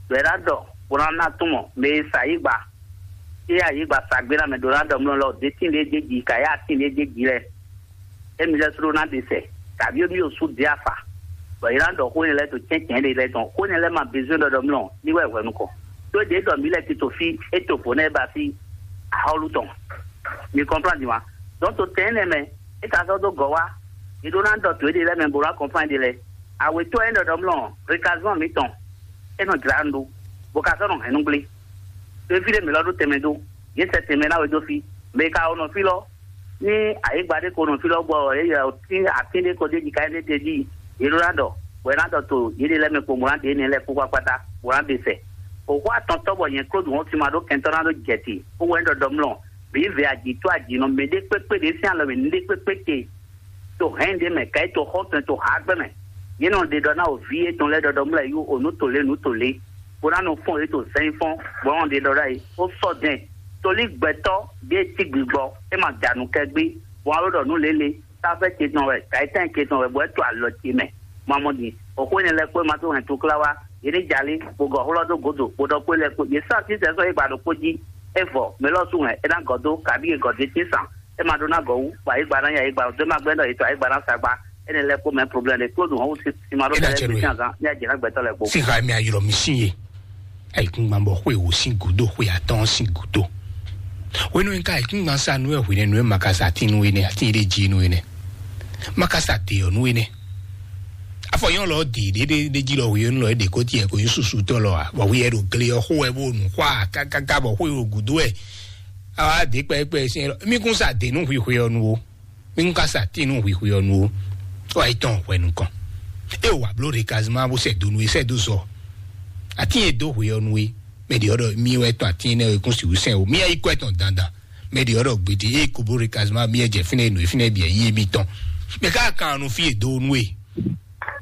ɖɔ é ná ɖɔ bó ná ná tún mɔ mɛ e sa yí gba. É yá yí gba sa gbé ná mɛ ɖó ná ɖɔ mlɔ lɔ ɖé tín ɖé dé ji ka yá tín ɖé dé ji lɛ. Émi lɛ́ɛ sló ná ɖe sɛ, tàbí émi ɖo sú ɖe afa, bɔ yě ná ɖɔ xó énɛ́ lɛ́ɛ ɖo cɛ́ncɛ́n ɖé lɛ́ɛ tɔn. Xó énɛ́ lɛ́ɛ ma bezwɛ́n ɖɔ ɖɔ mlɔ ní wɛ hwɛ̌nu kɔ. Tó ɖě ɖɔ mǐ lɛ́ɛ tito fí é to bǒ nɛ́ ba fí axɔ́lú tɔn. Mi kɔnplán din wa. Dɔn to tɛn énɛ́ mɛ, é ka sɔ́ dó gɔ̌ wá. Yě ɖó ná ɖɔ to éɖée lɛ́ɛ mɛ bó ná kɔnplán ɖe lɛ́ɛ. Awětɔ́ e ɖɔ ɖɔ mlɔ rekazɔn mǐtɔn, é nɔ jlá nǔ ɖó, bó ka sɔ́ nɔ hɛn nú gblé. Ɖo fí ɖé mǐ lɔ ɖó tɛnmɛ dó, yě sɛ tɛnmɛ ná wɛ dó fí. Mɛ e ka wɔ nɔ fí lɔ, ní ayǐgba ɖé ko nɔ fí lɔ gbɔ ɔ, yě yɛ tín atín ɖé ko ɖ'é jí ká énɛ́ tɛ́ jí, yě ɖó ná ɖɔ, bɔ é ná ɖɔ to yěɖée lɛ́ɛ mɛ kpo bó ná ɖe énɛ́ lɛ́ɛ kpó kpákpátá, bó ná ɖe sɛ. Xɔxɔ atɔntɔ́ bɔ nyɛ Klódu hɔn sin ma ɖó kɛntɔ́ ná ɖó jɛ te, bó wɛ ɖɔ ɖɔ mlɔ, bǐ vɛ ajǐ tó ajǐ nɔ mɛ ɖé kpékpé ɖě sín alɔ mɛ ní ɖé kpékpé te. To hɛn ɖé mɛ, ka yi to xɔtɔn to ha gbɛ mɛ. Yě nɔ ɖe ɖɔ ná o vǐ yětɔn lɛ́ɛ ɖɔ ɖɔ mlɔ yí o nǔ to lě nǔ to lě, bó ná nɔ fɔn yě to zɛ́n fɔn, bó nɔ ɖe ɖɔ ɖ'ayǐ, ó sɔ́ dɛn. Tolí gbɛtɔ́ ɖě cí gbigbɔ, é ma da nǔ kɛ gbé, bó wá ɖɔ nǔ lě lě, táfɛ́ ce tɔn wɛ, kayitɛ́n ce tɔn wɛ, bɔ é to alɔ ce mɛ. Mamɔ din, o xó énɛ́ lɛ́ɛ kpó ma tó hɛn tukla wá, yě ní jalí, bó gɔ̌ xlɔ́ dó gǒdo, bó ɖɔ kpó lɛ́ɛ kpó, yě sɔ́ así sɛ́ sɔ́ yí gba ɖokpó jí, é vɔ, mɛ lɔ sú hɛn, é ná gɔ̌ dó, kabí è gɔ̌ dó tín sàn, é ma ɖó ná gɔ̌ wú, bɔ ayǐgba ná nya ayǐgba, dó má gbɛ́ ɖɔ yě tɔ ayǐgba ná sa gba, énɛ́ lɛ́ɛ kpó mɛ problème ɖé, kpó dun hɔn wú sí, sí ma ɖó Éɖa kɛlɛ cɛ gbé nú sín ɛ. Azán, ní ajě ná gbɛtɔ́ lɛ́ɛ kpó. Sí xa mi ayɔlɔ mi sín ye. Ayikúngban bɔ xwé wò sín gúdó xwé atɔ́ɔ́n sín gúdó. Hwenu e un ka ayikúngban sa nú ɛ hwenɛ́nu e ma ka sa atín nú we nɛ́, atín e ɖe jí nú we nɛ́. Ma ka sa dě ɔ́ nú we nɛ́. Afɔ nyɔ́ lɔ dě ɖé ɖé ɖé jí lɔ hweyɔ́nú lɔ é ɖě ko tiɛ ko nyí susu tɔ́ lɔ ǎ. Bɔ hwi ɛ ɖo gle ɔ́ xó wɛ bó nu xwá kákáká bɔ xwé ɖo gǔdo wɛ. Awa dě kpɛ́kpɛ́ sín ɛ lɔ. Mí kún sa dě nú hwi hweyɔ́nú ó. Mí kún ka sa atín nú hwi hweyɔ́nú ó. Ó wá yi tɔn hwɛ nukɔn. É wǎ bló ɖe kazima bó sɛ dó nú é sɛ dó zɔ. Atín e dó hweyɔ́nú é. Mɛ ɖě ɔ́ ɖɔ mí wɛ tɔn atín énɛ́ é kún sixú sɛn o. Mí yá yi kɔ ɛ tɔn dandan. Mɛ ɖě ɔ́ ɖɔ gbedi é ko bló ɖe kazima mí yɛ jɛ fínɛ́ nǔ e fínɛ́ bǐ yí émítɔn. Mɛ ká kan nu fí e dó nú e.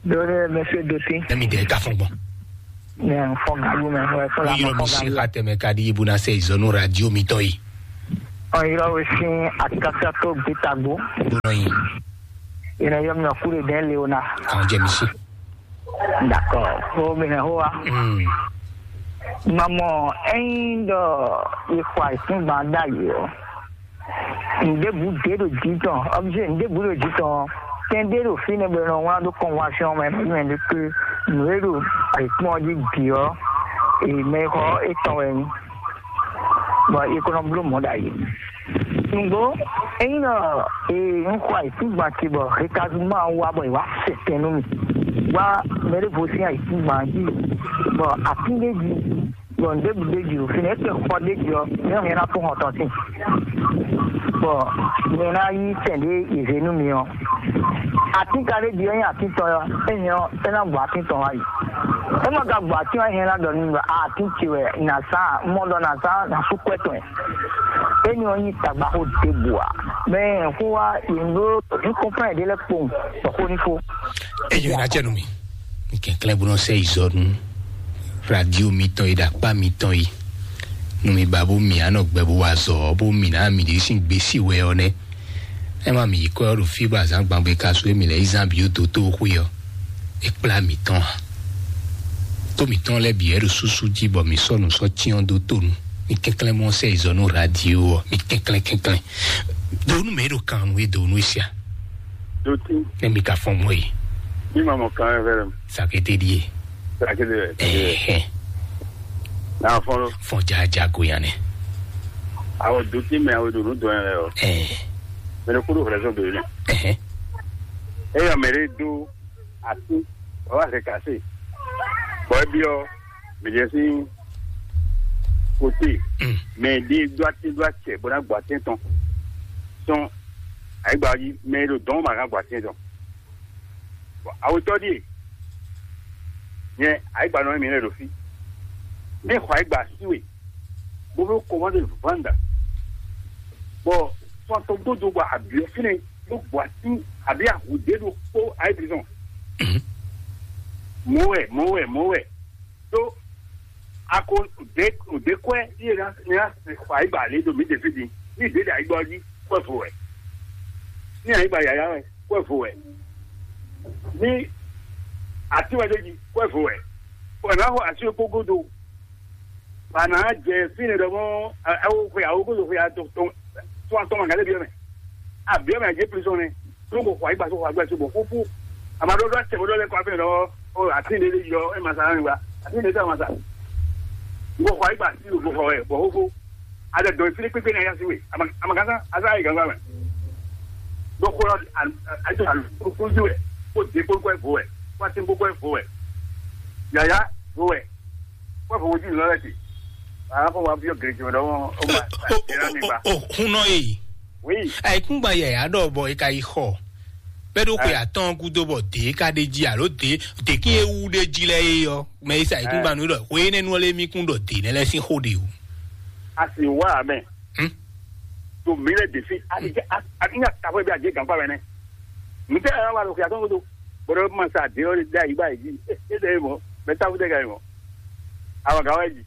Dole, monsieur Doti. Emi de ka fɔn gbɔn. Ne fɔ galu me, ouais, fɔ la Yɔrɔ mi fɔ si galu. Xa tɛmɛ ka di ibu na se izɔnu radio mi tɔ yi. Ɔ yɔrɔ we sin akasa to gbitagbo. Gbɔnɔ yi. Ina yɔ mi ku de den Leona. Kan jɛ mi si. D'accord. Ko mi ne ho wa. Mm. Mamɔ, ɛyin dɔ ikwa isin gban da yi o. Nɖěbǔ ɖě ɖo jǐ tɔn, ɔbjɛ nɖěbǔ ɖo jǐ tɔn ɔ́, tɛn ɖé ɖo fínɛ́ bɔ è nɔ wlán ɖó kɔnwásyɔn mɛ, mɛ ɖé ké nǔ e ɖo ayǐkún ɔ́ jí bǐ ɔ́, mɛ e xɔ étɔn wɛ nyí, bɔ è ko nɔ bló mɔ̌ ɖ'ayǐ. Nǔgbó, ényí nɔ un xɔ ayǐkúngban ce bɔ hekazuma ɔ́ wá bɔ è wǎ sɛ tɛn nú mì, wá mɛ ɖěvo sín ayǐkúngban jí, bɔ atín ɖé jí, bɔ nǔɖé bǐ ɖ'é jí ɖo fínɛ́, é kpɛn xɔ ɖ'é jí ɔ́, nyɛ ɔ́, nyɛ ná fún hɔn tɔn sín, bɔ nyɛ ná yí sɛn ɖé è zě nú mi ɔ́. Atín ka ɖ'é jí ɔ́ nyí atín tɔn ɔ́, é nyɛ ɔ́, é ná gbɔ atín tɔn wá yi. É ma ka gbɔ atín ɔ́, é hɛn ná ɖɔ nú mi ɖɔ atín ce wɛ nǎ sá, mɔ ɖɔ nǎ sá nǎ sú kwɛ́ tɔn ɛ. Éni ɔ́ nyí tagbaxó ɖěbǔ ǎ. Mɛ xó wá yě ɖó nukɔnfán ɖé lɛ́ɛ kpowun bɔ xó ní fó. Eyo na jɛ nú mi. Kɛnklɛ́n bó nɔ sɛ izɔ nú radio mitɔn yi ɖo akpá mitɔn yi. Nú mi ba bó mi anɔ gbɛ bó wa azɔ bó mi ná mi ɖě sín gbésí wɛ ɔ́ nɛ́. Ɛ má mi yi kɔ ɔ́ ɖo fí bó azǎn gban bó ka sú émi lɛ yi zán bǐ dó tó xwé ɔ́. É kplá mǐtɔn ǎ. Tó mǐtɔn lɛ́ɛ bǐ wɛ ɖo súsú jí bɔ mǐ sɔ́ nǔ sɔ́ cyɔ́n dó to nu. Mi kɛnklɛ́n mɔ sɛ izɔ nú radio ɔ́, mi kɛnklɛ́n kɛnklɛ́n. Do nú mɛ e ɖo kan nú e do nú e sia. Doti. Ne mi ka fɔn mɔ yi. Ní ma mɔ kan ɛ fɛ. Sakete ɖie. Sakete fɛ. Ɛhɛn. Na fɔn lo. Fɔn jaja go yan nɛ. Awɔ doti mɛ awo do nu dɔn yɛ lɛ o. Ɛhɛn. Mɛ ne kudo hɛrɛ sɔn do yɛ. Ɛhɛn. Eya mɛ de do ati, bɔ wá se kase. Bɔ ebi ɔ, mɛ de si kote. Mm. Mɛ de do ati do acɛ bɔ na gbɔ ati tɔn. Sɔn ayigba ɔ́ jí mɛ e ɖo dɔn ma gán gbɔ atín tɔn. Bɔ awetɔ ɖíe nyɛ ayigba nɔ mǐ lɛ ɖo fí. Mí xɔ ayigba sí we, bó fẹ́ kɔmɔdé vanda. Bɔ sɔn tɔn gbódò bɔ abiɔ fínɛ ló gbɔ atín àbí ahùdé ɖo kpó ayé prison. Mɔwɛ, mɔwɛ, mɔwɛ. Tó a ko ɖe ɖe kwɛ yé na na xɔ ayigba lé ɖo mí ɖe fí din. Ní ɖe ɖe ayigba ɔ́ jí kwɛ vo wɛ. Ní ayigba yaya wɛ kwɛ vo wɛ. Ní ati wɛ ɖe jí kwɛ vo wɛ. Wɛ na xɔ asi kpó godo. Wà ná jɛ fínɛ ɖɔ mɔ ɛwɔ xwe awo godo xwe atɔ tɔn tɔn ma gale biɛ mɛ. Abiɛ mɛ jɛ prison nɛ. Tó ko xɔ ayigba tó xɔ ayigba tó bɔ fúfú. Àmàdo ɖɔ tɛ bɔ ɖɔ lɛ kɔ afɛ ɖɔ o ati ne ɖe yɔ ɛ ma sa nani wa ati ne tɛ ma sa. N ko xɔ ayigba sí o ko xɔ ɛ bɔ fúfú. A lè dɔn fili kpékpé ní ayá sí we. A ma ka sá a sá yi gangba mɛ. Ɖo xɔ lɔ a a to alu kúrúkúrú sí wɛ. Kó de kpókpó ɛ vo wɛ. Kó asi kpókpó ɛ vo wɛ. Yàyà vo wɛ. Kó vo wojú lɔ lɛ ti. A kó wa biɔ gèrè jɔ dɔ o ma. Ɛ ra mi ba. O hun nɔ ye. Oui. Ayikúngban yɛ ya ɖɔ bɔ e ka yi xɔ. Bɛ́ ɖó xwe atɔ́ɔ́n gúdo bɔ dě ka ɖ'é jí alo dě dě kí é wú ɖ'é jí lɛ́ɛ é ɔ́, mɛ e sa ayǐkúngban nú ɖɔ xwe énɛ́ nu ɔ́ lé mí kún ɖɔ dě nɛ́ lɛ́ɛ sín xó ɖe o. A sì wá amɛ. Hmm? To mǐ lɛ ɖe fí a ti jẹ́ a ti nya tafɔ bí a jẹ́ gǎnkpá mɛ nɛ. Mǐ tẹ́ ɛ wá lɔ xwe atɔ́ɔ́n gúdo. Bɔ̀dọ̀ ma sa dě ɔ́ ɖe ayǐ bá yě jí. É ɖe é mɔ. Mɛ táfú tẹ́ ka yi mɔ. Àwọn gǎn wá yé jí.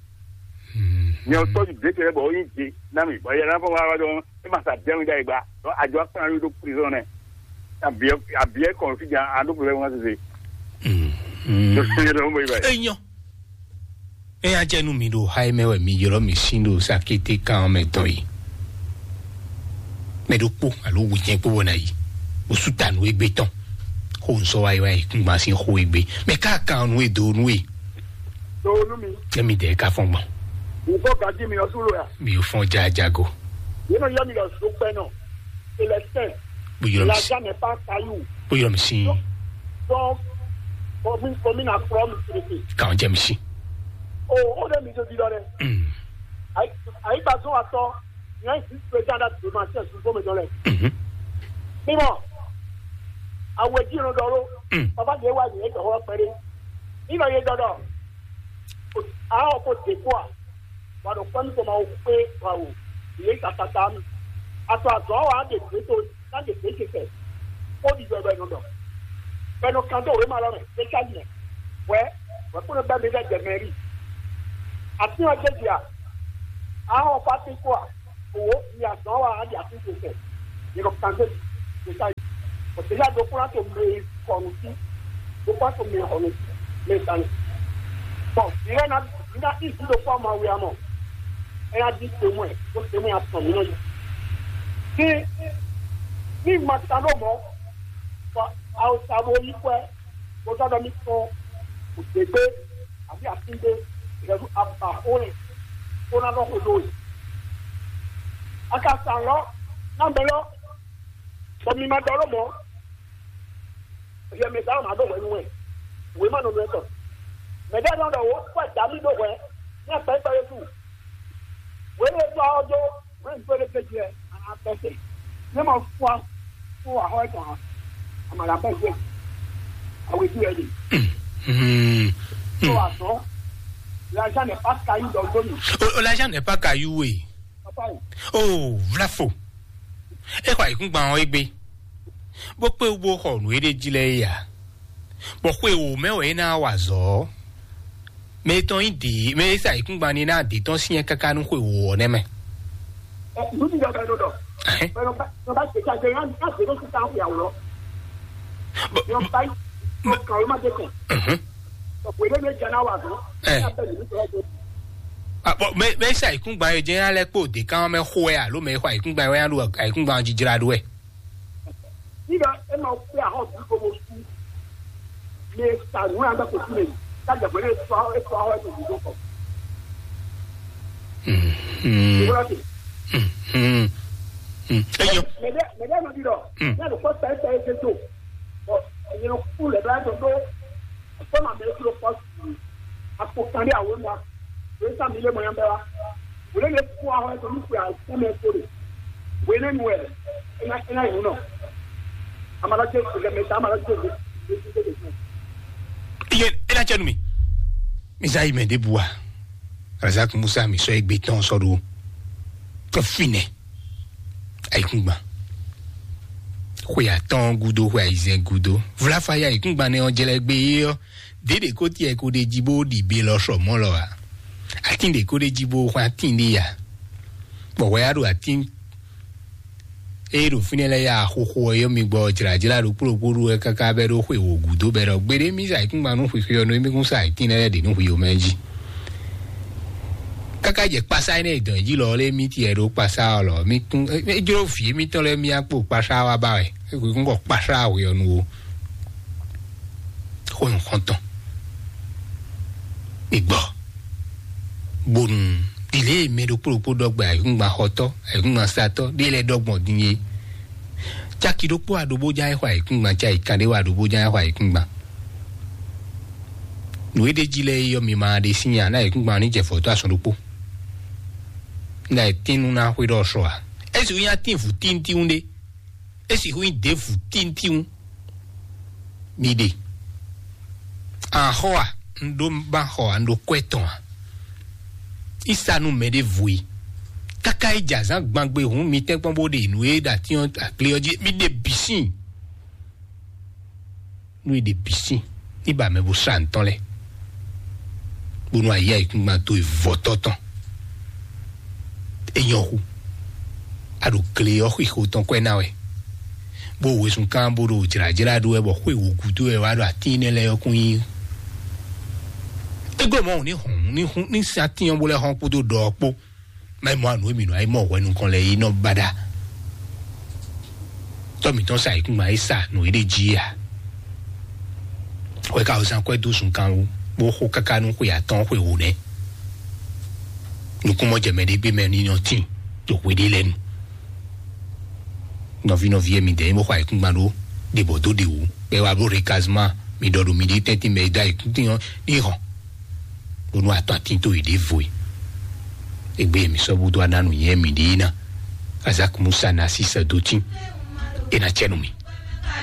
Nyɛ ɔ́ tɔ́jú dě tɛ́ bɔ ó nyí dě ná mì bɔ yɛ ná fɔ wá wá dɔn é ma sa dɛ́ mi ɖ'ayǐ gba. Dɔn àjọ akpán yóò ɖó prison nɛ. Àbíyɛ àbíyɛ kɔn fí jan a ɖó problème wá sese. Tó sɛnyɛ dɔn mo yi ba. Enyɔ. Eya jɛ nu mi ɖo ha yi mɛ wɛ mi ylɔ mi sin ɖo sakete kan mɛ dɔn yi. Mɛ ɖokpó alo wujɛn kpó bɔ na yi. Bó sú ta nú egbe tɔn. Xó nsɔ wa yi wa yi kúngban sín xó egbe. Mɛ ká kan nú e do nú e. Tó nú mi. Emi dɛ ka fɔn gbɔn. Nǹkan gàdí mi ọtún ló yà. Mi ò fọn jajago. Yìí nọ yọ mi lọ sọ pẹ́ náà. Célestin. Bó yọ mi sí. Lajá mi pa kayú. Bó yọ mi sí. Donc, commune, commune à trois mille traités. Kàn jẹ́ mi sí. O, ó dé mi tó di lọ dɛ. Hmm. Ayi, ayi gba zɔn atɔ. Nyɛ si président da demain c'est sous forme de lɛ. Mhm. Mímɔ. Awe jí nɔ dɔ ló. Mm. Papa de wa yɛ dɔ wɔ pɛrɛ. Nínú yɛ dɔdɔ. Awo ko te kó a. Wa ɖo kpɛn ko ma wo kpé wa wo. Yɛ tatata mi. Ato azɔ wa de gbe to na de gbe ke fɛ. Ko di dɔ bɛ nɔ dɔ. Bɛnɔ kan dó wěma lɔ mɛ, ɖé ká yi mɛ. Wɛ, wɛ kpɔ́n bɛ mi lɛ jɛ mɛri. Atín ɔ́ jɛ jí a? Ahɔn fati kó a? Owó ni azɔn wa a di atín tó sɛ. Yɛ kan dó ɖé ká yi. Bɔ déjà do kpɔ́n to mɛ kɔnu sí. Do kpɔ́n to mɛ kɔnu sí. Mɛ sani. Bɔn ìrẹ́ na na ìdí do kpɔ́n ma wí amɔ. Ɛ na di tòmɔ ɛ, kó tòmɔ ɛ atɔn mi nɔ yi. Ní ní ma ta ló mɔ, bɔ awusabo yí kwɛ, bó sɔ́ ɖɔ mì kpɔ́n òdègbé àbí àtúndé, ìrẹ́lú abàxó rẹ̀ kó ná lɔ xo dó we. A ka sa lɔ ná mɛ lɔ, bɔ mi ma ɖɔ ló mɔ, yɛ mɛ sa ma ɖo hwɛ nú wɛ, wě ma nɔ nɔ ɛ tɔn. Mɛ ɖé nɔ ɖɔ wò kpɔ dǎ mì ɖó hwɛ, ní akpɛkpɛ yé su. Wě lè tɔ ɔ́ dó, wě ń gbé lé gbé jɛ, a nà tɔ se. Ní ma fún wa, fún wa xɔ ɛ tɔn, a ma ɖa bɛ jɛ. Awe dú ɛ de. Hmm. Tó wa sɔn. L'argent n'est pas caillou dans le dos. Oh, l'argent n'est pas caillou, oui. Papa yi. Oh, vlafo. E xɔ ayǐkúngban ɔ́ égbé. Bó kpé wú bó xɔ nǔ e ɖ'é jí lɛ́ɛ é ǎ. Bɔ xwe wǒ mɛ wɛ é ná wa azɔ̌ ɔ́. Mɛ e tɔn nyí dě, mɛ e sa ayǐkúngban ní ná dě tɔn syɛ́n káká nú xwe wǒ ɔ́ nɛ́ mɛ. Ɛ, nǔ ti ɖɔ bɛ ɖo ɖɔ. Ɛhɛn. Bɛ nɔ ba nɔ ba tɛ tsa jɛ yɔn yɔn zero six an ya wlɔ. Bɔ Yɔn ba yi. Yɔn kan o ma de kɔn. Mhm. Bɔ wele ne jɛ na wa zɔn. Ɛ. Ya bɛ nǔ tɔ to. Ah, bɔ mɛ mɛ sa ayǐkúngban yɛ jɛ ya lɛ kpó dě kan mɛ xo wɛ alo mɛ xɔ ayǐkúngban wɛ ya ɖo ayǐkúngban jijra ɖo wɛ. Nígbà ẹ máa fẹ́ àwọn òbí gbogbo sí. Lè ṣàánú àgbà kò sí lè kájà pẹ̀lú ètò àwọn ètò àwọn ètò ìdìbò kan. Mhm. Ìwúrọ̀ sí. Mhm. Mhm. Eyọ. Mẹ̀dẹ́ mẹ̀dẹ́ ló di lọ. Mm. Ní àlùkò sẹ́yìn sẹ́yìn ṣe tó. Ọ̀ ẹ̀yin ló kú lẹ̀ bá yàtọ̀ tó. Ọ̀pọ̀ màmí ló kú ló pọ̀ sí. Àpò kan ní àwọn ọmọ. Èyí sàmì ilé mọ̀ yẹn bẹ́ẹ̀ wá. Wòlé lè fún àwọn ẹ̀sọ́ ní pé àìsàn ẹ̀ tó lè. Wòlé nu ẹ̀ ẹ̀ ná ẹ̀ ná ìlú náà. Amalajẹ ìgbẹ́ mẹ́ta amalajẹ ìgbẹ́ ìgbẹ́ ìgbẹ́. Iye ena cɛ nu mi. Misa yi mɛ de bua. Razak Musa mi sɔ egbe tɔn sɔ ɖo. Tɔ finɛ. Ayikungban. Xwe atɔn gudo xwe ayizɛn gudo. Vlafa ya ayikungban nɛ ɔ jɛ lɛ gbe ye ɔ. Ɖě ɖě ko tiɛ ko ɖe jí bó ɖi be lɔ sɔ mɔ lɔ a? Atín ɖě ko ɖe jí bó xwán atín ɖé ya? Bɔ hwɛ ya ɖo atín eye ɖo fínɛ́ lɛ́ɛ ya xoxo ɔ́ yɔ mi gbɔ jlǎjlá ɖokpó ɖokpó ɖu wɛ káká bɛ́ ɖó xwe wǒ gúdo bɛ́ ɖɔ gbeɖé mí sa ayǐkúngban nú xwixwe ɔ́ nú émí kún sa ayǐtín lɛ́ɛ ɖě nú hwi omɛ jí. Káká jɛ kpasá énɛ́ e dɔn jí lɔ lé mí tiɛ ɖó kpasá ɔ́ lɔ mí kún é jló vǐ émítɔn lɛ́ɛ mí akpó kpasá wa ba wɛ é kún kɔ kpasá hwe ɔ́ nu o. Xó nǔxɔntɔn. Mi gbɔ. Bonu ɖile mɛ ɖokpó ɖokpó ɖɔgbɛ ayǐkúngban xɔtɔ́ ayǐkúngban satɔ́ ɖé lɛ́ɛ ɖɔgbɔn din é. Caki ɖokpó aɖobó ján é xɔ ayǐkúngban, caki kan ɖé wá aɖobó ján é xɔ ayǐkúngban. Nǔ e ɖ'é jí lɛ́ɛ é yɔ mi ma ɖe sín nya ná ayǐkúngban ní jɛ fɔ̌tɔ́ asɔn ɖokpó. Ná e tín nú ná xwé ɖɔ sɔ a? É sixú nyí atín vǔ tíntínwú ɖé. É sixú nyí ɖěvǔ tíntínwú. Mi ɖe. Axɔ a? Un ɖó ba xɔ a? Un ɖó kwɛ tɔn a? Isa nú mɛ ɖěvo e. Káká é jɛ azǎn gbangbe hǔn mi tɛ́nkpɔ́n bó ɖe nǔ e ɖo atín ɔ́ aklé ɔ́ jí mi ɖe bǐ sín. Nú e ɖe bǐ sín ní ba mɛ bó sá ntɔ́n lɛ́ɛ. Bónú ayé ayǐkúngban dó e vɔ̌tɔ́ tɔn. É nyɔ́ xú. A ɖo gle ɔ́ xixo tɔn kwɛ ná wɛ. Bó wezun kán bó ɖo jlǎjlá ɖó wɛ bɔ xwé wǒ gúdo wɛ wá ɖo atín énɛ́ lɛ́ɛ ɔ́ kún nyí. É glɔ́ mɔ̌ ní hɔn ní hún ní sin atín ɔ́ bó lɛ́ hɔn kpódó ɖɔ ɔ́ kpó. Má yi mɔ anu émi nɔ ayi mɔ hwɛ nukɔn lɛ yi nɔ baɖa. Tɔ mǐtɔn sa yǐkúngban yi sa nǔ yi ɖe jí ya. Hwɛ ka wezan kwɛ dó sun kan wú bó xo káká nú xwe atɔ́ɔ́n xwe wǒ nɛ́. Nukúnmɔjɛmɛ ɖé gbé mɛ ní nɔ tín ɖo hwe ɖé lɛ́ɛ nu. Nɔví nɔví e mi dɛ nyí bó xɔ ayǐkúngban ɖó ɖe bɔ dó ɖe wǔ bɔ é wá bló rekazema mi ɖɔ ɖo mi ɖe tɛ́ntin mɛ e dó ayǐkúngban ní hɔn. Bónú atɔ́ atín tó yě ɖěvo e. Égbé mi sɔ́ búdó aná nǔnywɛ́ mǐ ɖe ná. Azak Musa ná sísɛ dó tín. É ná cɛ nú mi.